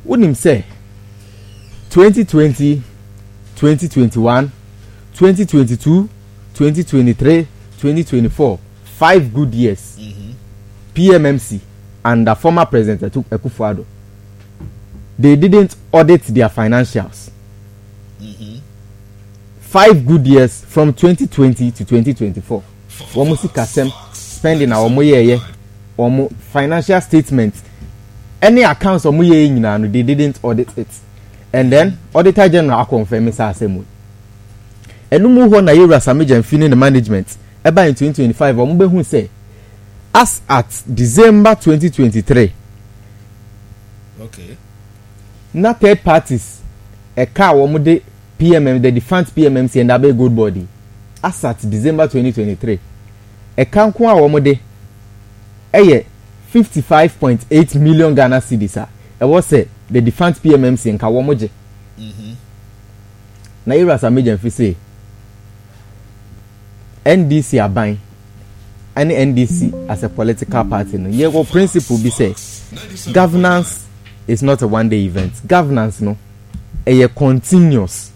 Wonim sɛ twenty twenty, twenty twenty-one, twenty twenty-two, twenty twenty-three, twenty twenty-four, five good years, Mm-hmm. P M M C under former President Akufo-Addo, they didn't audit their financials. Mm-hmm. Five good years, from twenty twenty to twenty twenty-four, wɔn sikasɛm, spending a wɔn yɛɛyɛ, wɔn financial statement ɛne accounts a wɔn yɛɛ nyinaa no, they didn't audit it. And then Auditor General akɔnfɛn saa asɛm yi. Ɛno mu hɔ na yɛwura Sammy Gyamfi ne ne management ɛba in twenty twenty-five, wɔn bɛhu sɛ as at December twenty twenty-three, Okay. na third parties ɛka a wɔn de P M M, the defunct P M M C and abɛ Gold Board yi, as at December twenty twenty-three, ɛka nko a wɔn de ɛyɛ fifty-five point eight million Ghana cedis a ɛwɔ sɛ the defunct P M M C nka wɔn gye. Mm-hmm. Na yɛwura Sammy Gyamfi sɛ N D C aban ɛne N D C as a political party no, yɛwɔ principle bi sɛ governance is not a one day event. Governance no ɛyɛ continuous.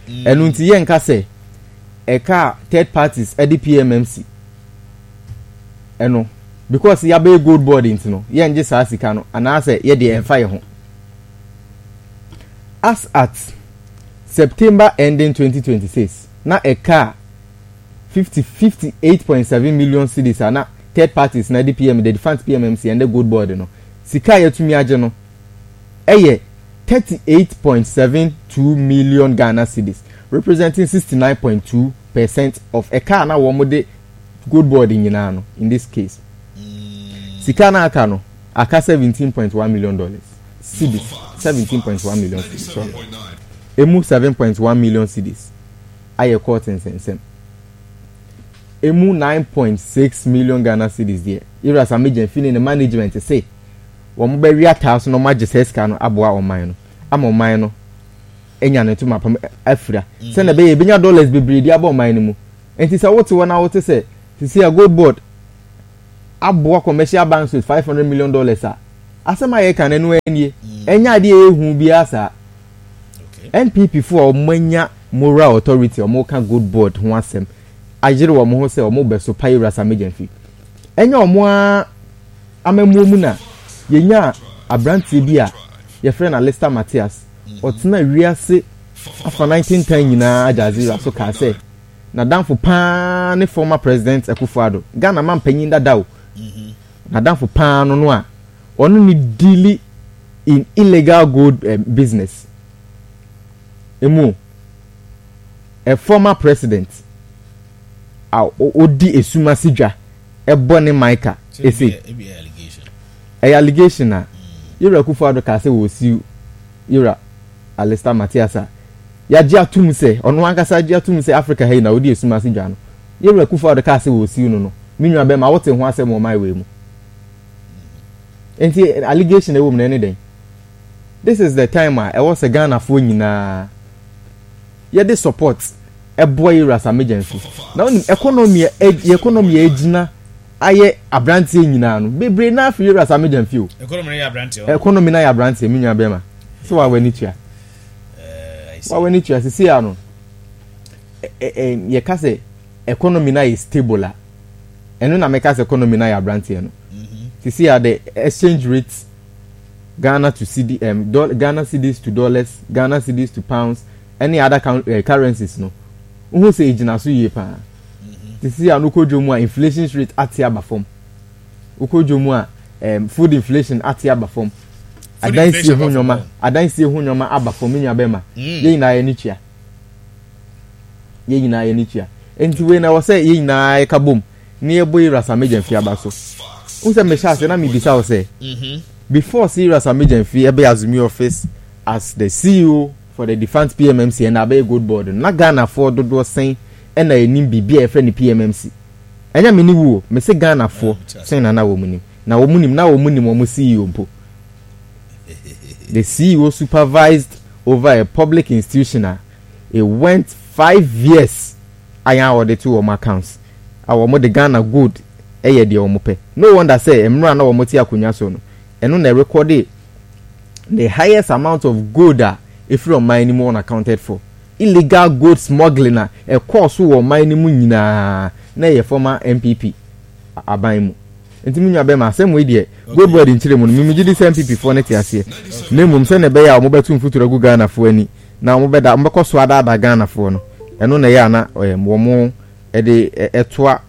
Ɛno nti yɛnka sɛ ɛka a third parties ɛde P M M C ɛno, because yɛabɛyɛ Gold Board nti no, yɛngye saa sika no anaasɛ yɛde ɛmfa yɛ ho. As at September ending twenty twenty-six, na ɛka a fifty fifty-eight point seven million cedis a na third parties na de P M the defunct P M M C and the Gold Board no, sika a yɛtumi agye no ɛyɛ thirty-eight point seven two million Ghana cedis, representing sixty-nine point two percent of ɛka a na wɔn de Gold Board nyinaa no. In this case, sika na aka no, aka seventeen point one million dollars cedis, seventeen point one million cedis. Sorry, emu seven point one million cedis ayɛ court nsɛnsɛm, emu nine point six million Ghana cedis deɛ, yɛwura Sammy Gyamfi ne ne management say wɔn bɛwi ataa so na wɔn agye sɛ sika no aboa ɔman no ama ɔman no anya ne ntoma pam afira, sɛnɛ ɛbɛyɛ ebenya dollars bebree de aba ɔman no mu. Nti sɛ wote hɔ na wote sɛ Sisi a Gold Board aboa commercial banks with five hundred million dollars a, asɛm a yɛka no ɛno ara nie. Ɛnyɛ adeɛ a ɛyɛ hu biara saa. N P P foɔ a wɔn anya moral authority a wɔka Gold Board ho asɛm ayere wɔn ho sɛ wɔn bɛso pa Yewura Sammy Gyamfi. Ɛnyɛ wɔn ara amammuo mu na yɛnya aberanteɛ bi a yɛfrɛ no Alistair Matthias. Ɔtena wiase afanan tentan nyinaa Al Jazeera so kaa sɛ n'adamfo paa ne former President Akufo-Addo, Ghana mampanyin dada o. N'adamfo paa no no a ɔno ne deal in illegal gold eh, business emu, a former president a ɔdi esum ase dwa ɛbɔ ne mica ese ɛyɛ allegation a Yewura Akufo-Addo kaa sɛ wɔsi Yewura Alistair Matthias a yagye atum sɛ ɔno ankasa agye atum sɛ Africa ha yi na ɔdi esum ase dwa no. Yewura Akufo-Addo kaa sɛ wɔsi no no me nua bɛrima wote ho asɛm wɔ ɔman wei mu, nti allegation ɛwɔ mu na ɛne dɛn? This is the time a ɛwɔ sɛ Ghanafoɔ nyinaa yɛde support ɛboa Yewura Sammy Gyamfi na wonim economy a economy a egyina ayɛ aberanteɛ nyinaa no bebree na afei Yewura Sammy Gyamfi o. Economy no yɛ aberanteɛ. Economy na yɛ aberanteɛ, me nua bɛrima, sɛ wa w'ani tua wa w'ani tua sisi ano ɛ ɛ yɛka sɛ economy na yɛ stable a, ɛno na mɛka sɛ economy na yɛ aberanteɛ no. Sisi a the exchange rate, Ghana to cedi, um, do, Ghana cedis to dollars, Ghana cedis to pounds ɛne other uh, currencies no, wohu sɛ egyina so yie paa. Sisi a no kɔ dwom a, inflation rate ate aba fam. Wokɔ dwom a, um, food inflation ate aba fam, adansie ho nneɛma adansie ho nneɛma aba fam. Nua bɛma yɛn nyinaa yɛ ne tua, yɛn nyinaa yɛ ne tua. Nti wei na wɔ sɛ yɛn nyinaa yɛka bom ne yɛbɔ Yewura Sammy Gyamfi aba so. N sɛ mehyɛ ase na mebisa wo sɛ before sɛ Yewura Sammy Gyamfi ɛbɛyɛ assume office as the C E O for the defunct P M M C ɛna abɛyɛ Gold Board no, na Ghanafoɔ dodoɔ sɛn ɛna ɛnim biribi a yɛfrɛ no P M M C? Ɛnyɛ me ne wo o, mese Ghanafoɔ sɛn na na wɔn nim, na wɔn nim na wɔn nim wɔn C E O mpo? The C E O supervised over a public institution a it went five years a yɛn a wɔde to wɔn accounts a wɔn de Ghana gold ɛyɛ deɛ wɔn pɛ. No wonder sɛ mmerɛ a na wɔn te akonnwa so no, ɛno na ɛrekɔde the highest amount of gold a efiri ɔman no mu unaccounted for, illegal gold smuggling a ɛkɔɔ so wɔ ɔman no mu nyinaa na ɛyɛ former N P P aban mu. Nti mi nua bɛma asɛm wei deɛ, Gold Board nkyerɛ mu no, mimi gye di sɛ N P P foɔ no te aseɛ, na mmom sɛ na ɛbɛyɛ a wɔbɛto mfuturo agu Ghanafoɔ ani na wɔbɛda wɔbɛkɔ so adaadaa Ghanafoɔ no, ɛno na ɛyɛ ana wɔn ɛde ɛtoa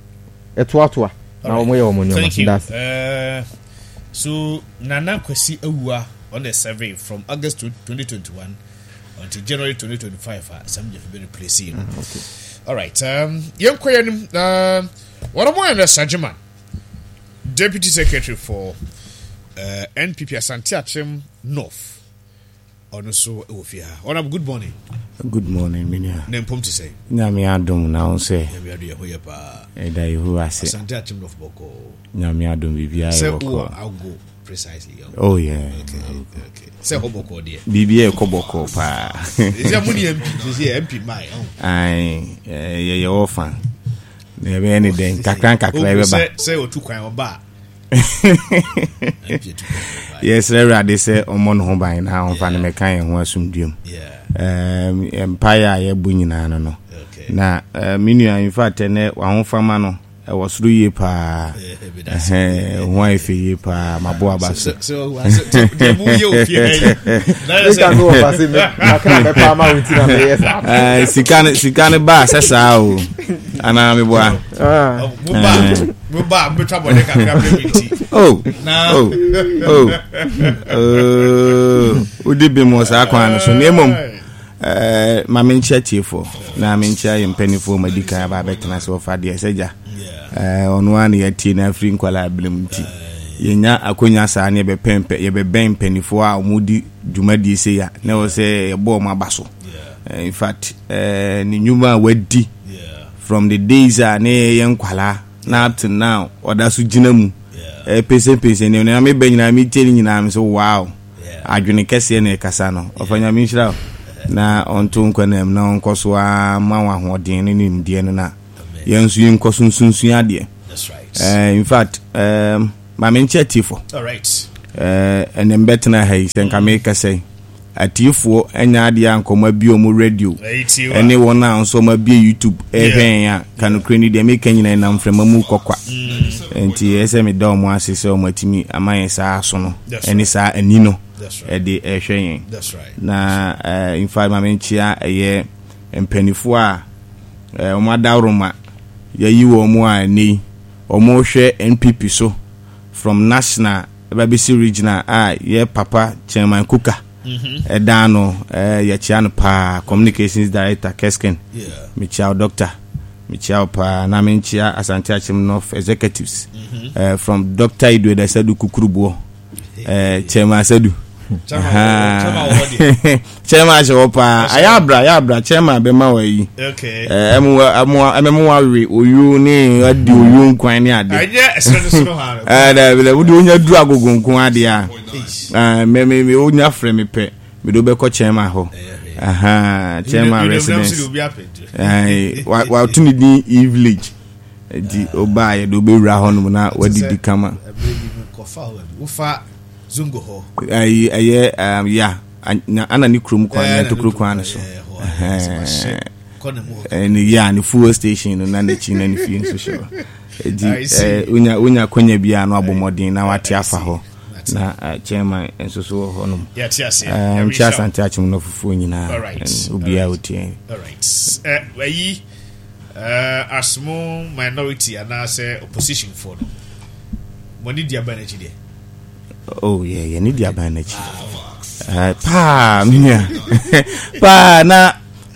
ɛtoatoa na wɔn yɛ wɔn nneɛma. Thank you. Uh, so Nana Kwesi Awua on the survey from August twenty twenty-one until January twenty twenty-five. Uh, some of you replace you. Ah, okay. All right. Um, yɛnkɔ yɛn uh, wɔn mo yɛ Sajiman, Deputy Secretary for uh, N P P Asante Akyem North. Ɔno nso wɔ fie ha. Honorable, good morning. Good morning, minia. Ne mpom te sɛ? Nyame adom, na wo sɛ? Nyame adom, yɛ ho yɛ paa. Ɛda Yehowa ase. Asante Akyem North bɔkɔɔ. Nyame adom, biribiara yɛ sɛ bɔkɔɔ. Wɔ ago precisely? Oh yeah. Okay, okay. Sɛ hɔ bɔkɔɔ deɛ? Biribiara ɛkɔ bɔkɔɔ paa. Sɛ mo ne M P sɛ M P mae ɔn. Ae, yɛyɛ wɔ fa na yɛbɛyɛ ne dɛn, kakra nkakra yɛbɛba. Sɛ sɛ otu kwan ɔba a. Yɛsrɛ Awurade sɛ ɔmmɔ ne ho ban na ɔmfa no mɛka yɛn ho asomdwam. Mpaeɛ a yɛbɔ nyinaa no no na me nua, in fact, ɛnɛ wahofama no ɛwɔ soro yie paa, ho ayɛ fɛ yie paa, mabo aba so. Sika no, sika no baa sɛ saa o, anaa meboa? Oh oh oh oh, wodi bi mu saa kwan no so, na mmom ma menkyia tiefoɔ na menkyia yɛ mpanimfoɔ ma di kan aba abɛtena sɛ wɔfa deɛ sɛ gya ɔno ara na yɛatie no afiri nkwalaa berɛ mu, nti yɛnya akonya saa ne yɛbɛpɛn yɛbɛbɛn mpanimfoɔ a wɔdi dwumadie sei a, na ɛwɔ sɛ yɛbɔ wɔn aba so. In fact, ne nnwuma a wadi from the days a ne yɛyɛ nkwalaa na up to now ɔda so gyina mu pɛsɛpɛsɛ nneɛma na mebɛ nyinaa metie ne nyinaa me so, wow, adwene kɛseɛ na ɛkasa no. Ɔfa Nyame nhyira wo na ɔnto nkwa nam na ɔnkɔ so a ma wo ahoɔden ne nimdeɛ no na Yɛn nso yɛnkɔ so nsunsua adeɛ. That's right. Eh, in fact, um, ma menkyɛ atiefo. All right. Eh, ɛnɛ mbɛtena ha yi sɛ nka mekasa yi, atiefoɔ anya adeɛ a nkɔmɔ abie ɔmo radio ɛne wɔn a nso ɔmo abie YouTube ɛhwɛ yɛn a, ka nokorɛ ni, deɛ meka nyinaa nam mframa mu kɔkwa. Nti ɛsɛ meda ɔmo ase sɛ ɔmo atumi ama yɛn saa aso no ɛne saa ani no ɛde ɛhwɛ yɛn. Na eh, in fact, ma menkyea ɛyɛ mpanimfoɔ a eh, ɔmo adaworoma yɛyi wɔn mu a ɛnɛ yi ɔmo hwɛ N P P so from national ɛba bɛsi regional a yɛ papa Chairman Kuka ɛdan no, ɛɛ yɛkyia no paa, communications director Kesken. Yeah. Mekyia wo, doctor, mekyia wo paa. Na menkyia Asante Akyem North executives ɛɛ from Doctor Edward Asadu Kukuruboɔ, ɛɛ Chairman Asadu. Chairman wɔ- Chairman wɔ hɔ deɛ. Chairman ahyɛ hɔ paa, ayɛ abra, ayɛ abra. Chairman bɛma wɔ ayi Okay. ɛɛ ɛmu ɛmu ɛmɛmu awe oyuo ne adi oyuo nkwan ne ade. Ɛnyɛ ɛsrɛ no so no ha no. Ɛɛ dɛbi dɛbi, wode wonya duru agogo nko adeɛ a, ɛɛ mɛ mɛ mɛ wonya frɛ mi pɛ, mɛ de wobɛkɔ chairman hɔ. Ahan, chairman residence. Obi apɛ. Ɛɛ wa wato ne din E Village, nti ɔbaa yɛ de wobɛwura hɔ nom na wadidi kama. Ɛbɛrɛ bi mi kɔfa hɔ baabi. Wofa Zongo hɔ. Ɛyi ɛyɛ ɛɛm ya ana ana ne kurom kwan Ɛɛ, ne ntokuro kwan no so. ɛɛ, hɔ a, ɛsɛ sɛ kɔ ne mu hɔ. Ɛne ya ne fuel station no na n'akyi na ne fie nso hyɛ hɔ. Eti I see. ɛɛ wonya wonya konya biara no, abɔ mmɔden na wate afa hɔ. Mate. Na ɛɛ, chairman nso so wɔ hɔ nom. Yɛte ase. Ɛɛ nkyɛn Asante Akyem no fufuo nyinaa. All right. Ɛn, obiara All right. otie. All right. Ɛ ɛyi ɛɛ as mo minority anaasɛ opposition foɔ no, mo ani di aban n'akyi deɛ? Oh yeah, yɛne di aban n'akyi ɛɛ paa, me nua, paa. Na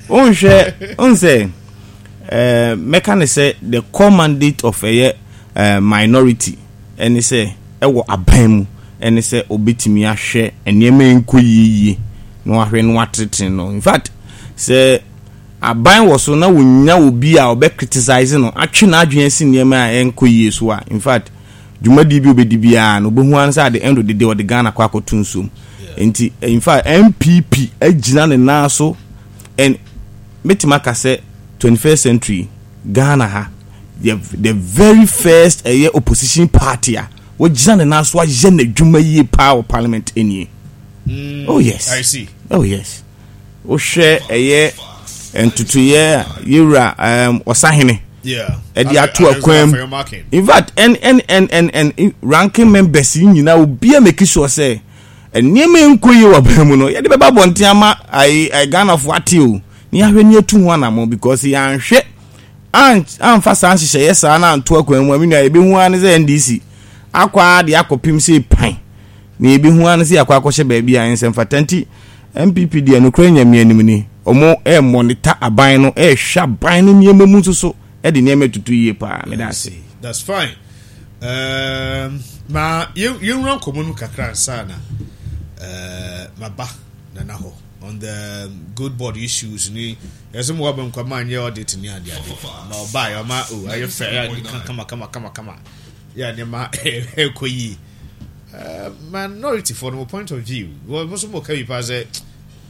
wonhwɛ wonsɛ ɛɛ mɛka ne sɛ the core mandate of ɛyɛ ɛɛ minority ɛne sɛ ɛwɔ aban mu ɛne sɛ obetumi ahwɛ nneɛma nkɔ yie na wahwɛ na watetene no. In fact, sɛ aban wɔ so na wonya obi a ɔbɛ criticize no, atwe n'adwene asi nneɛma a ɛnkɔ yie so a, in fact, dwumadie bi a obɛdi biara no, obɛhu ara sɛ at the end of the day ɔde Ghana kɔ akɔto nsuom. Nti in fact, N P P agyina ne nan so and mɛtumi aka sɛ twenty-first century Ghana ha, the, the very first ɛyɛ opposition party a wɔgyina ne nan so ayɛ n'adwuma yie paa wɔ parliament nie. Oh yes. I see. Oh yes, wohwɛ ɛyɛ ntotoyɛ a yɛwura um, ɔsahene Yeah. ɛde ato akwan mu. In fact, ɛn ɛn ɛn ɛn ɛn ranking members yi nyinaa, obiara make sure sɛ nneɛma nkɔ yie wɔ aban mu no, yɛde bɛba abɔnten ama ayi ayi Ghanafoɔ ate o, ne yɛahwɛ ne yɛtu ho anammɔ, because yɛanhwɛ an amfa saa nhyehyɛeɛ saa na anto akwan mu a, me nua, yɛbɛhu ara ne sɛ N D C akɔ ara de akɔpem sɛ pan na yɛbɛhu ara ne sɛ yɛakɔ akɔhyɛ baabi a nsɛm fata. Nti N P P deɛ, nokorɛ Nyame anim ni, ɔmo ɛmɔnita aban no, ɛɛhwɛ aban no nneɛma mu nso so, ɛde nneɛma tutu yie paa. Meda ase. That's fine. Um, ma yɛnwura nkɔmmɔ no kakra nsa na uh, maba nana hɔ on the Gold Board issues ni. Yɛsɛ mo waba nkwama anyɛ audit ni ade ade ma ɔbaa yɛ ɔma o ayɛ fɛ, ayɛ ade kama kama kama kama, yɛ nneɛma ɛkɔ yie. Uh, minority for no point of view, wɔn nso mo ka bi paa sɛ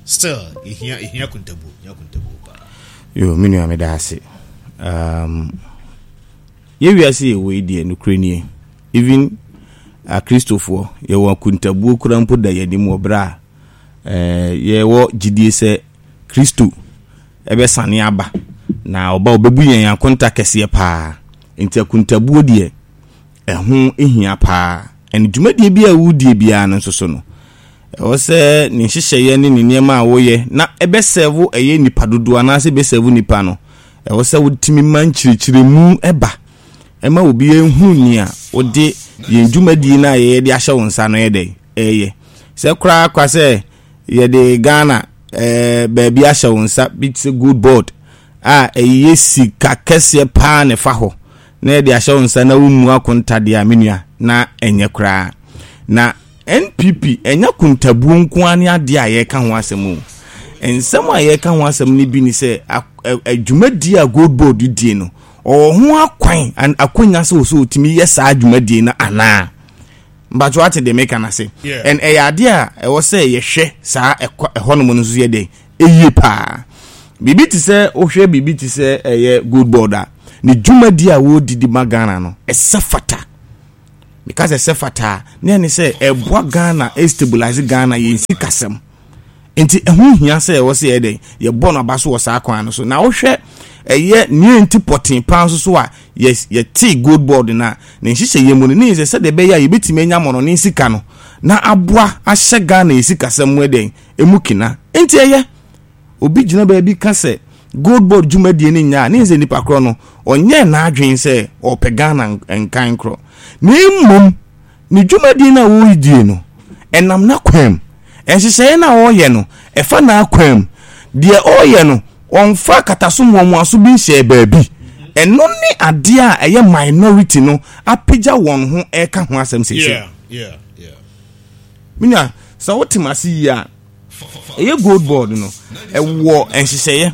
still ehia ehia kuntabuo, ehia kuntabuo paa. Yo, me nua, meda ase. um, yɛwiase yɛwɔ yi deɛ, nokorɛ nie, even Akristofoɔ yɛwɔ akuntabuo kora mpo da yɛn wɔ berɛ a eh, yɛwɔ gyidie sɛ Kristo ɛbɛsane aba na ɔba ɔbɛbu yɛn akonta kɛseɛ paa. Nti akuntabuo deɛ, ɛho hia paa. Ɛne dwumadie bi a wodie biara no nso so no, ɛwɔ sɛ ne nhyehyɛeɛ ne ne nneɛma a woyɛ na ɛbɛsɛvo ɛyɛ nipa dodoɔ anaasɛ ɛbɛsɛvo nipa no, ɛwɔ sɛ wotumi ma nkyerɛkyerɛmu ɛba ɛma obi ehu nea wode yɛn dwumadie no a yɛyɛ de ahyɛ wo nsa no yɛ dɛ ɛyɛ sɛ koraa kwa sɛ yɛde Ghana ɛɛ baabi ahyɛ wo nsa bi te sɛ Gold Board a ɛyɛ sika kɛseɛ paa ne fa hɔ na yɛde ahyɛ wo nsa na womu akonta deɛ a, me nua, na ɛnyɛ koraa. Na N P P ɛnyɛ kontabuo nko ara ne adeɛ a yɛreka ho asɛm o. Nsɛm a yɛreka ho asɛm no bi ne sɛ dwumadie a Gold Board die no, ɔwɔ ho akwan, akwanya sɛ ɔsɛ ɔtumi yɛ saa dwumadie no anaa? Mbatwo ate deɛ meka no ase? And ɛyɛ adeɛ a ɛwɔ sɛ yɛhwɛ saa ɛhɔnom no nso yɛ dɛ ɛyie paa. Biribi te sɛ wohwɛ biribi te sɛ ɛyɛ Gold Board a Ne dwumadi a wɔredidi ma Ghana no, ɛsɛ fata. Meka sɛ ɛsɛ fata a, ne ɛne sɛ ɛboa Ghana, ɛstabilize Ghana yɛn sikasɛm. Nti ɛho hia sɛ ɛwɔ sɛ yɛ dɛn, yɛbɔ no aba so wɔ saa kwan no so. Na wohwɛ ɛyɛ nea nti pɔtee paa nso so a yɛtee Gold Board no a, ne nhyehyɛeɛ mu no, ne yɛ sɛ sɛdeɛ ɛbɛyɛ a yɛbɛtumi anya mmɔnɔne sika no na aboa ahyɛ Ghana yɛ sikasɛm mu ɛdɛn, emu kina. Nti ɛyɛ obi gyina baabi ka sɛ Gold Board dwumadie no nyɛ a, ne yɛ sɛ nipa korɔ no ɔnyɛ n'adwene sɛ ɔpɛ Ghana nkan korɔ, na mmom ne dwumadie no a wɔredie no ɛnam n'akwan mu. Nhyehyɛeɛ no a ɔreyɛ no ɛfa n'akwan mu. Deɛ ɔreyɛ no ɔmfa kataso mmoamoaso bi nhyɛ baabi. Ɛno ne adeɛ a ɛyɛ minority no apagya wɔn ho ɛka ho asɛm seesei. Yeah, yeah, yeah. Minya sɛ wote m'ase yie a, ɛyɛ Gold Board no ɛwɔ nhyehyɛeɛ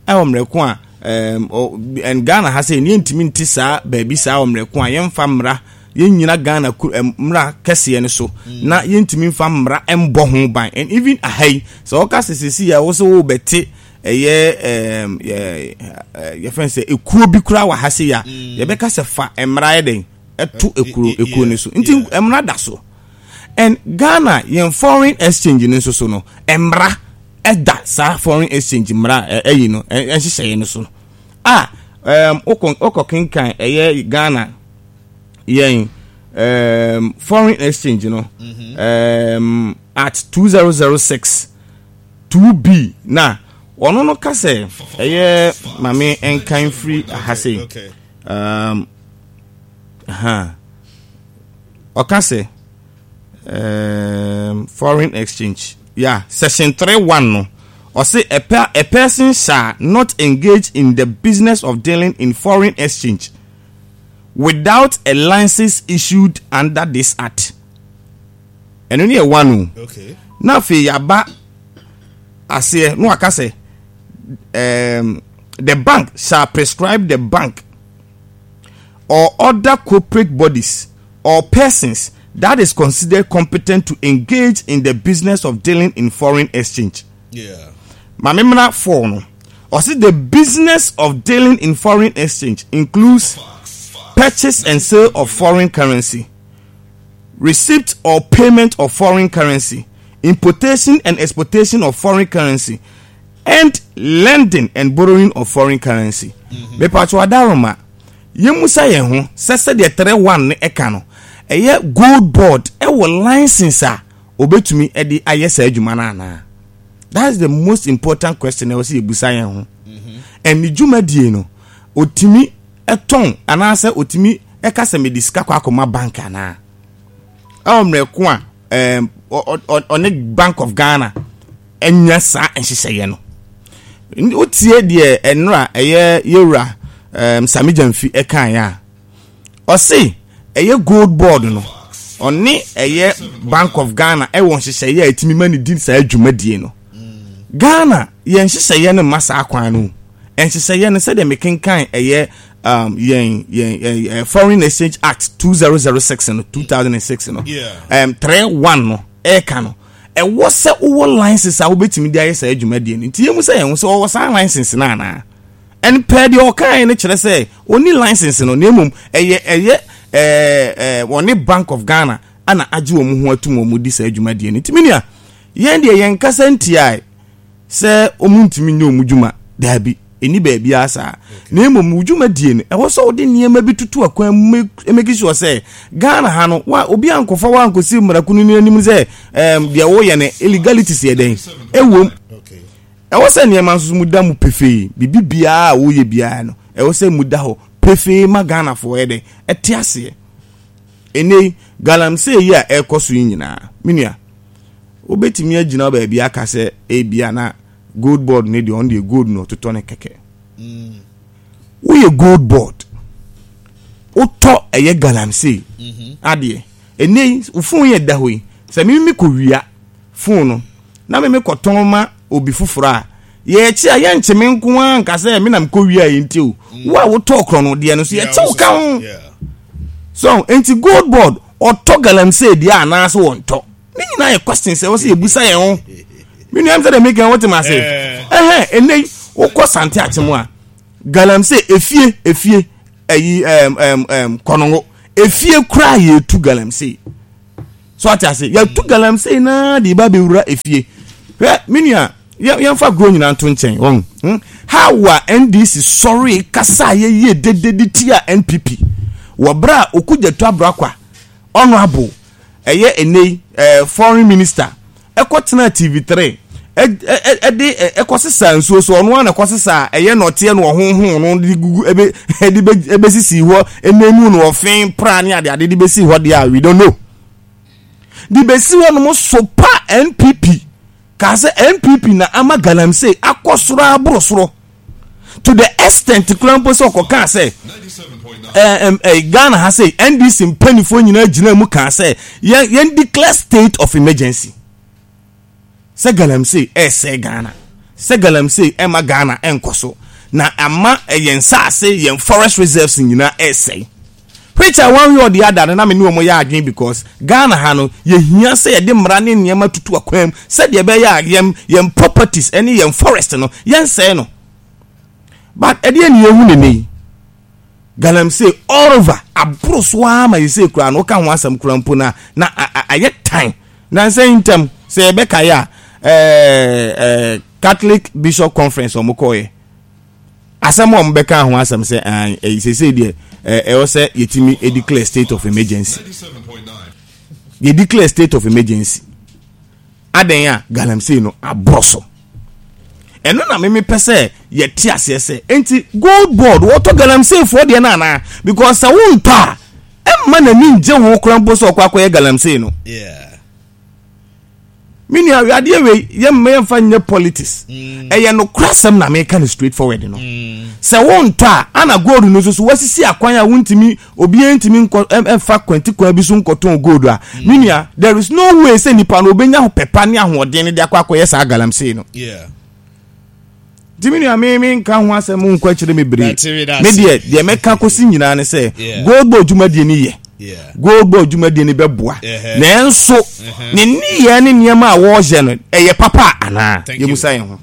ɛwɔ mmerɛ ko a ɛm Ghana ha sɛ yɛn ntumi nte saa baabi saa wɔ mmerɛ ko a yɛmfa mmara, yɛnnyina Ghana mmara kɛseɛ no so na yɛntumi mfa mmara mbɔ ho ban. And even aha yi sɛ wɔka sɛ sisi a wɔsɛ wɔbɛte ɛyɛ ɛɛm yɛ yɛfɛn sɛ ekuo bi koraa wɔ ha se ya, yɛbɛka sɛ fa mmara yɛ dɛn ɛto ekuo ekuo no so. Nti mmara da so. And Ghana yɛn foreign exchange no nso so no, mmara ɛda saa foreign exchange mmara ɛyi no ɛnhyehyɛeɛ no so a ɛɛm wokɔ wokɔ kenkan ɛyɛ Ghana yɛn um, foreign exchange no um, at two zero zero six two B na ɔno no ka sɛ ɛyɛ maame nkan firi aha sei. Um, ha ɔka sɛ um, foreign exchange, yeah, section three one no, ɔse a, per, a person shall not engage in the business of dealing in foreign exchange without a license issued under this act. Ɛno ne yɛ one o. Okay. Na afei yaba aseɛ na waka sɛ um, the bank shall prescribe the bank or other corporate bodies or persons that is considered competent to engage in the business of dealing in foreign exchange. Yeah. Maame mmra four no, ɔsi the business of dealing in foreign exchange includes purchase and sale of foreign currency, receipt or payment of foreign currency, importation and exportation of foreign currency, and lending and borrowing of foreign currency. Mepatro adaroma, yɛmusa yɛn ho sɛ sɛdeɛ three one no ɛka no, ɛyɛ Gold Board ɛwɔ license a obetumi ɛde ayɛ saa adwuma no anaa? That's the most important question ɛwɔ sɛ yɛbusa yɛn ho. And ne dwumadie no, otumi ɛtɔn anaasɛ otumi ɛka sɛ mede sika kɔ akɔma bank anaa? Ɛwɔ mmerɛ ko a ɛɛm ɔne Bank of Ghana ɛnya saa nhyehyɛeɛ no. Wotie deɛ ɛnora ɛyɛ yɛwura ɛɛm Sami Gyamfi ɛkaeɛ a, ɔse ɛyɛ Gold Board no ɔne ɛyɛ Bank of Ghana ɛwɔ nhyehyɛeɛ a ɛtumi ma ne di saa dwumadie no. Ghana yɛn nhyehyɛeɛ no mma saa kwan no. Nhyehyɛeɛ no sɛdeɛ mekenkan ɛyɛ um, yɛn yɛn yɛn Foreign Exchange Act two zero zero six no, two thousand and six no, um, three one no ɛɛka no, ɛwɔ sɛ wowɔ license a wobɛtumi de ayɛ saa dwumadie no. Nti yɛmu sɛ yɛn ho sɛ ɔwɔ saa license no anaa? Ɛn pɛɛ deɛ ɔkaeɛ no kyerɛ sɛ ɔni license no, na mmom ɛyɛ ɛyɛ ɛɛ ɛɛ wɔne Bank of Ghana ana agye wɔn ho atum wɔn di saa dwumadie no. Nti minia yɛn deɛ yɛn kasa ntia sɛ wɔn ntumi nyɛ wɔn dwuma, daabi, ɛni baabi a saa. Na mmom wo dwumadie no ɛwɔ sɛ wode nneɛma bi tutu akwan mu make sure sɛ Ghana ha no wa obi ankɔfa wa ankɔsi mmarakunu no anim sɛ ɛɛm deɛ wɔyɛ no illegalities yɛ dɛn ɛwom. Ɛwɔ sɛ nneɛma nso mu da mu pefee, biribi biara a wɔyɛ biara no ɛwɔ sɛ mu da hɔ pefee ma Ghanafoɔ yɛ dɛn ɛte aseɛ. Ɛnɛ yi galamsey yi a ɛrekɔ so yi nyinaa, me nua, wobɛtumi agyina baabi aka sɛ ebia na Gold Board ne deɛ ɔno deɛ gold na ɔtotɔ ne kɛkɛ. Woyɛ Gold Board, wotɔ ɛyɛ galamsey adeɛ. Ɛnɛ yi wo phone yɛ da hɔ yi, sɛ me me kɔ wia phone no na me me kɔtɔn ma obi foforɔ a, yɛkyi a yɛnkye me nko ara nka sɛ me na mekɔ wia yi nti o. Wo a wotɔɔ korɔ no deɛ no so yɛkye wo ka ho. So nti Gold Board ɔtɔ galamsey deɛ anaasɛ wɔntɔ? Ne nyinaa yɛ questions ɛwɔ sɛ yɛbusa yɛn ho. Me nua sɛ deɛ meka wote ma ase. Ɛhɛn, ɛnɛ yi wokɔ Sante Akyem a, Galamsey efie efie ɛyi ɛm ɛm ɛm Kɔnɔngo efie koraa yɛtu galamsey so ate ase. Yɛtu galamsey naa de ba bɛwura efie. Hwɛ, me nua, yɛmfa goro nyinaa nto nkyɛn wɔn hmm? How a N D C sɔre kasa a yɛyie dede de tia N P P wɔ berɛ a Okudzeto Ablakwa, honourable, ɛyɛ ɛnɛ ɛɛ foreign minister, ɛkɔ tena T V three ɛde ɛkɔ sisa nsuo so, ɔno ara na ɛkɔ sisa, ɛyɛ nɔteɛ no ɔhohon no de gugu ɛbɛ ɛde bɛ ɛbɛsisi hɔ ɛnɛmu no ɔfin pra ne ade ade de bɛsi hɔ deɛ a, we don't know, de bɛsi hɔ nom so pa N P P kaa sɛ N P P na ama galamsey akɔ soro aboro soro to the extent kura mpo sɛ ɔkɔkaa sɛ ɛɛ ɛɛ Ghana ha sɛ N D C mpanimfoɔ nyinaa gyina mu kaa sɛ yɛn yɛn declare state of emergency sɛ galamsey ɛsɛ Ghana, sɛ galamsey ɛma Ghana ɛnkɔ so na ama ɛyɛn nsaase, yɛn forest reserves nyinaa ɛsɛe, which I one way or the other no na me ne wɔn yɛ adwene, because Ghana ha no yɛhia sɛ yɛde mmara ne nneɛma tutu akwan mu sɛdeɛ ɛbɛyɛ a yɛn yɛn properties ɛne yɛn forest no yɛnsɛe no. But ɛdeɛ ne yɛhu ne ne yi, galamsey all over aboro so ara ma yɛsɛ kura no woka ho asɛm kura mpo na na ayɛ tan na nsɛn ntɛm sɛ yɛbɛka yɛ a ɛɛ ɛɛ Catholic Bishop Conference wɔn kɔɔyɛ asɛm a wɔn bɛka ho asɛm sɛ ɛɛ ɛyi sese deɛ ɛɛ ɛwɔ sɛ yɛtumi declare state of emergency. Yɛ declare state of emergency adan a galamsey no aboro so. Ɛno na mímí pɛ sɛ yɛte aseɛ sɛ nti Gold Board wɔtɔ galamsey foɔ deɛ no anaa, because sɛ wontɔ a ɛmma n'ani ngye ho koraa mpo sɛ ɔkɔ akɔyɛ galamsey no. Me nua, adeɛ wei yɛmma yɛmfa nyɛ politics, ɛyɛ nokorɛ asɛm na meka no straight forward no sɛ wontɔ a ana gold no nso so wasisi akwan a wontumi, obiara ntumi nkɔ ɛmfa kwanti kwan bi so nkɔtɔn gold a, me nua, there is no way sɛ nipa no obɛnya pɛpa ne ahoɔden no de akɔ akɔyɛ saa galamsey no. Nti me nua, me me nka ho asɛm nkɔ akyerɛ me bere. Me deɛ, deɛ mɛka kɔsi nyinaa ne sɛ Gold Board dwumadie no yɛ, Gold Board dwumadie no bɛboa, nanso ne nneyɛɛ ne nneɛma a wɔrehyɛ no ɛyɛ papa anaa, yɛmusa yɛn ho.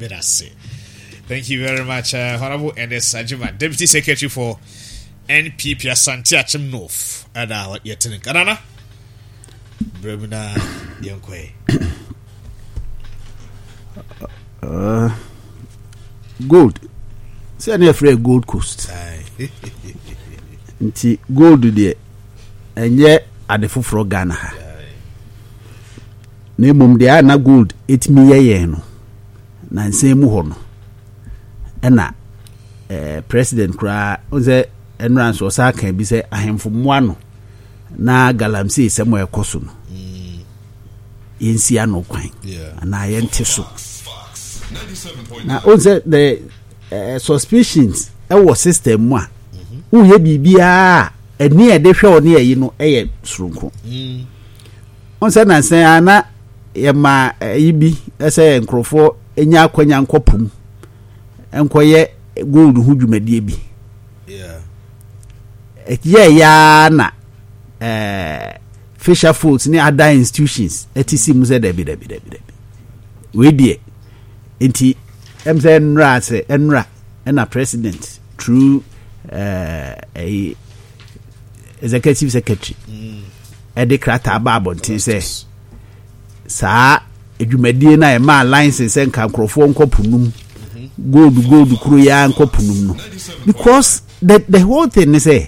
Thank you very much, uh, Honorable Ernest Sajima, Deputy Secretary for N P P Asante Akyem North. Ada yɛtene nkanana. Brɛ mu na yɛnkɔɛ. Uh, gold sɛ ne yɛfrɛ Gold Coast, nti gold deɛ ɛnyɛ ade foforɔ Ghana ha, na mmom deɛ a na gold ɛtumi yɛ yɛn no na nsɛn mu hɔ no ɛna eh, president koraa n sɛ ɛnora nso ɔsa ka bi sɛ ahemfo mmoa no na galamsey sɛm a ɛkɔ so no yɛnsi ano kwan anaa yɛnte so. Na o sɛ the uh, suspicions ɛwɔ system mu a woyɛ biribiara a ɛni a yɛde hwɛ wo ne ɛyi no ɛyɛ soronko. Wɔn sɛ nansan a na yɛma ɛyi bi ɛsɛ nkurɔfoɔ nya akwanya nkɔ pum nkɔyɛ gold ho dwumadie bi ɛyɛ yaa na ɛɛ fisher folks ne other institutions ɛte si mu sɛ dabi, dabi, dabi, dabi, wei deɛ. Nti ɛm sɛ nnura sɛ nnura ɛna president through ɛɛ ɛyi executive secretary ɛde krataa ba abɔnten sɛ saa dwumadie no a ɛmaa license sɛ nka nkurɔfoɔ nkɔ po num gold gold kuro yi ara nkɔ po num no, because the the whole thing ne sɛ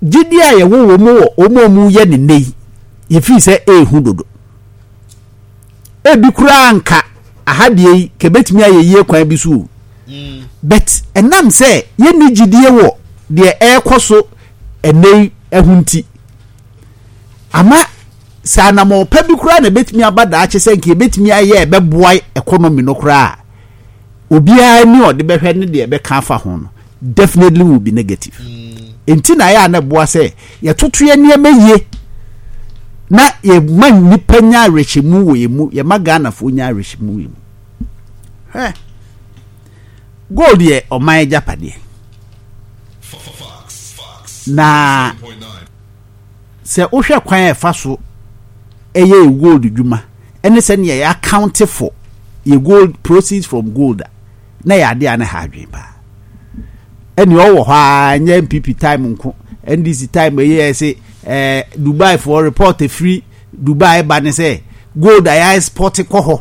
gyidi a yɛwɔ wɔ mu wɔ wɔn a wɔyɛ ne nne yi, yɛfiri sɛ ehu dodo. Ebi koraa nka aha deɛ yi kɛbɛtumi ayɛ yie kwan bi so o, but ɛnam sɛ yɛnni gyidie wɔ deɛ ɛrekɔ so ɛnɛ yi ɛho nti ama sɛ anammɔn bi koraa na ɛbɛtumi aba daakye sɛ nka yɛbɛtumi ayɛ ɛbɛboa economy no koraa, obiara ni ɔde bɛhwɛ ne deɛ ɛbɛka afa ho no definitely will be negative. Nti na ayɛ a na ɛboa sɛ yɛtoto yɛ nneɛma yie na yɛma nnipa nya awerɛhyɛmu wɔ yɛn mu, yɛma Ghanafoɔ nya awerɛhyɛmu wɔ yɛn mu. Hwɛ, gold yɛ ɔman agyapadeɛ na sɛ wohwɛ kwan a ɛfa so ɛyɛ gold dwuma ɛne sɛnea yɛ account for yɛ gold, proceeds from gold a na yɛ adeɛ a ne ha adwene paa. Ɛne ɔwɔ hɔ a, nyɛ N P P time nko, N D C time ɛyɛ sɛ ɛɛ Dubai foɔ report efiri Dubai ba ne sɛ gold a yɛ export kɔ hɔ.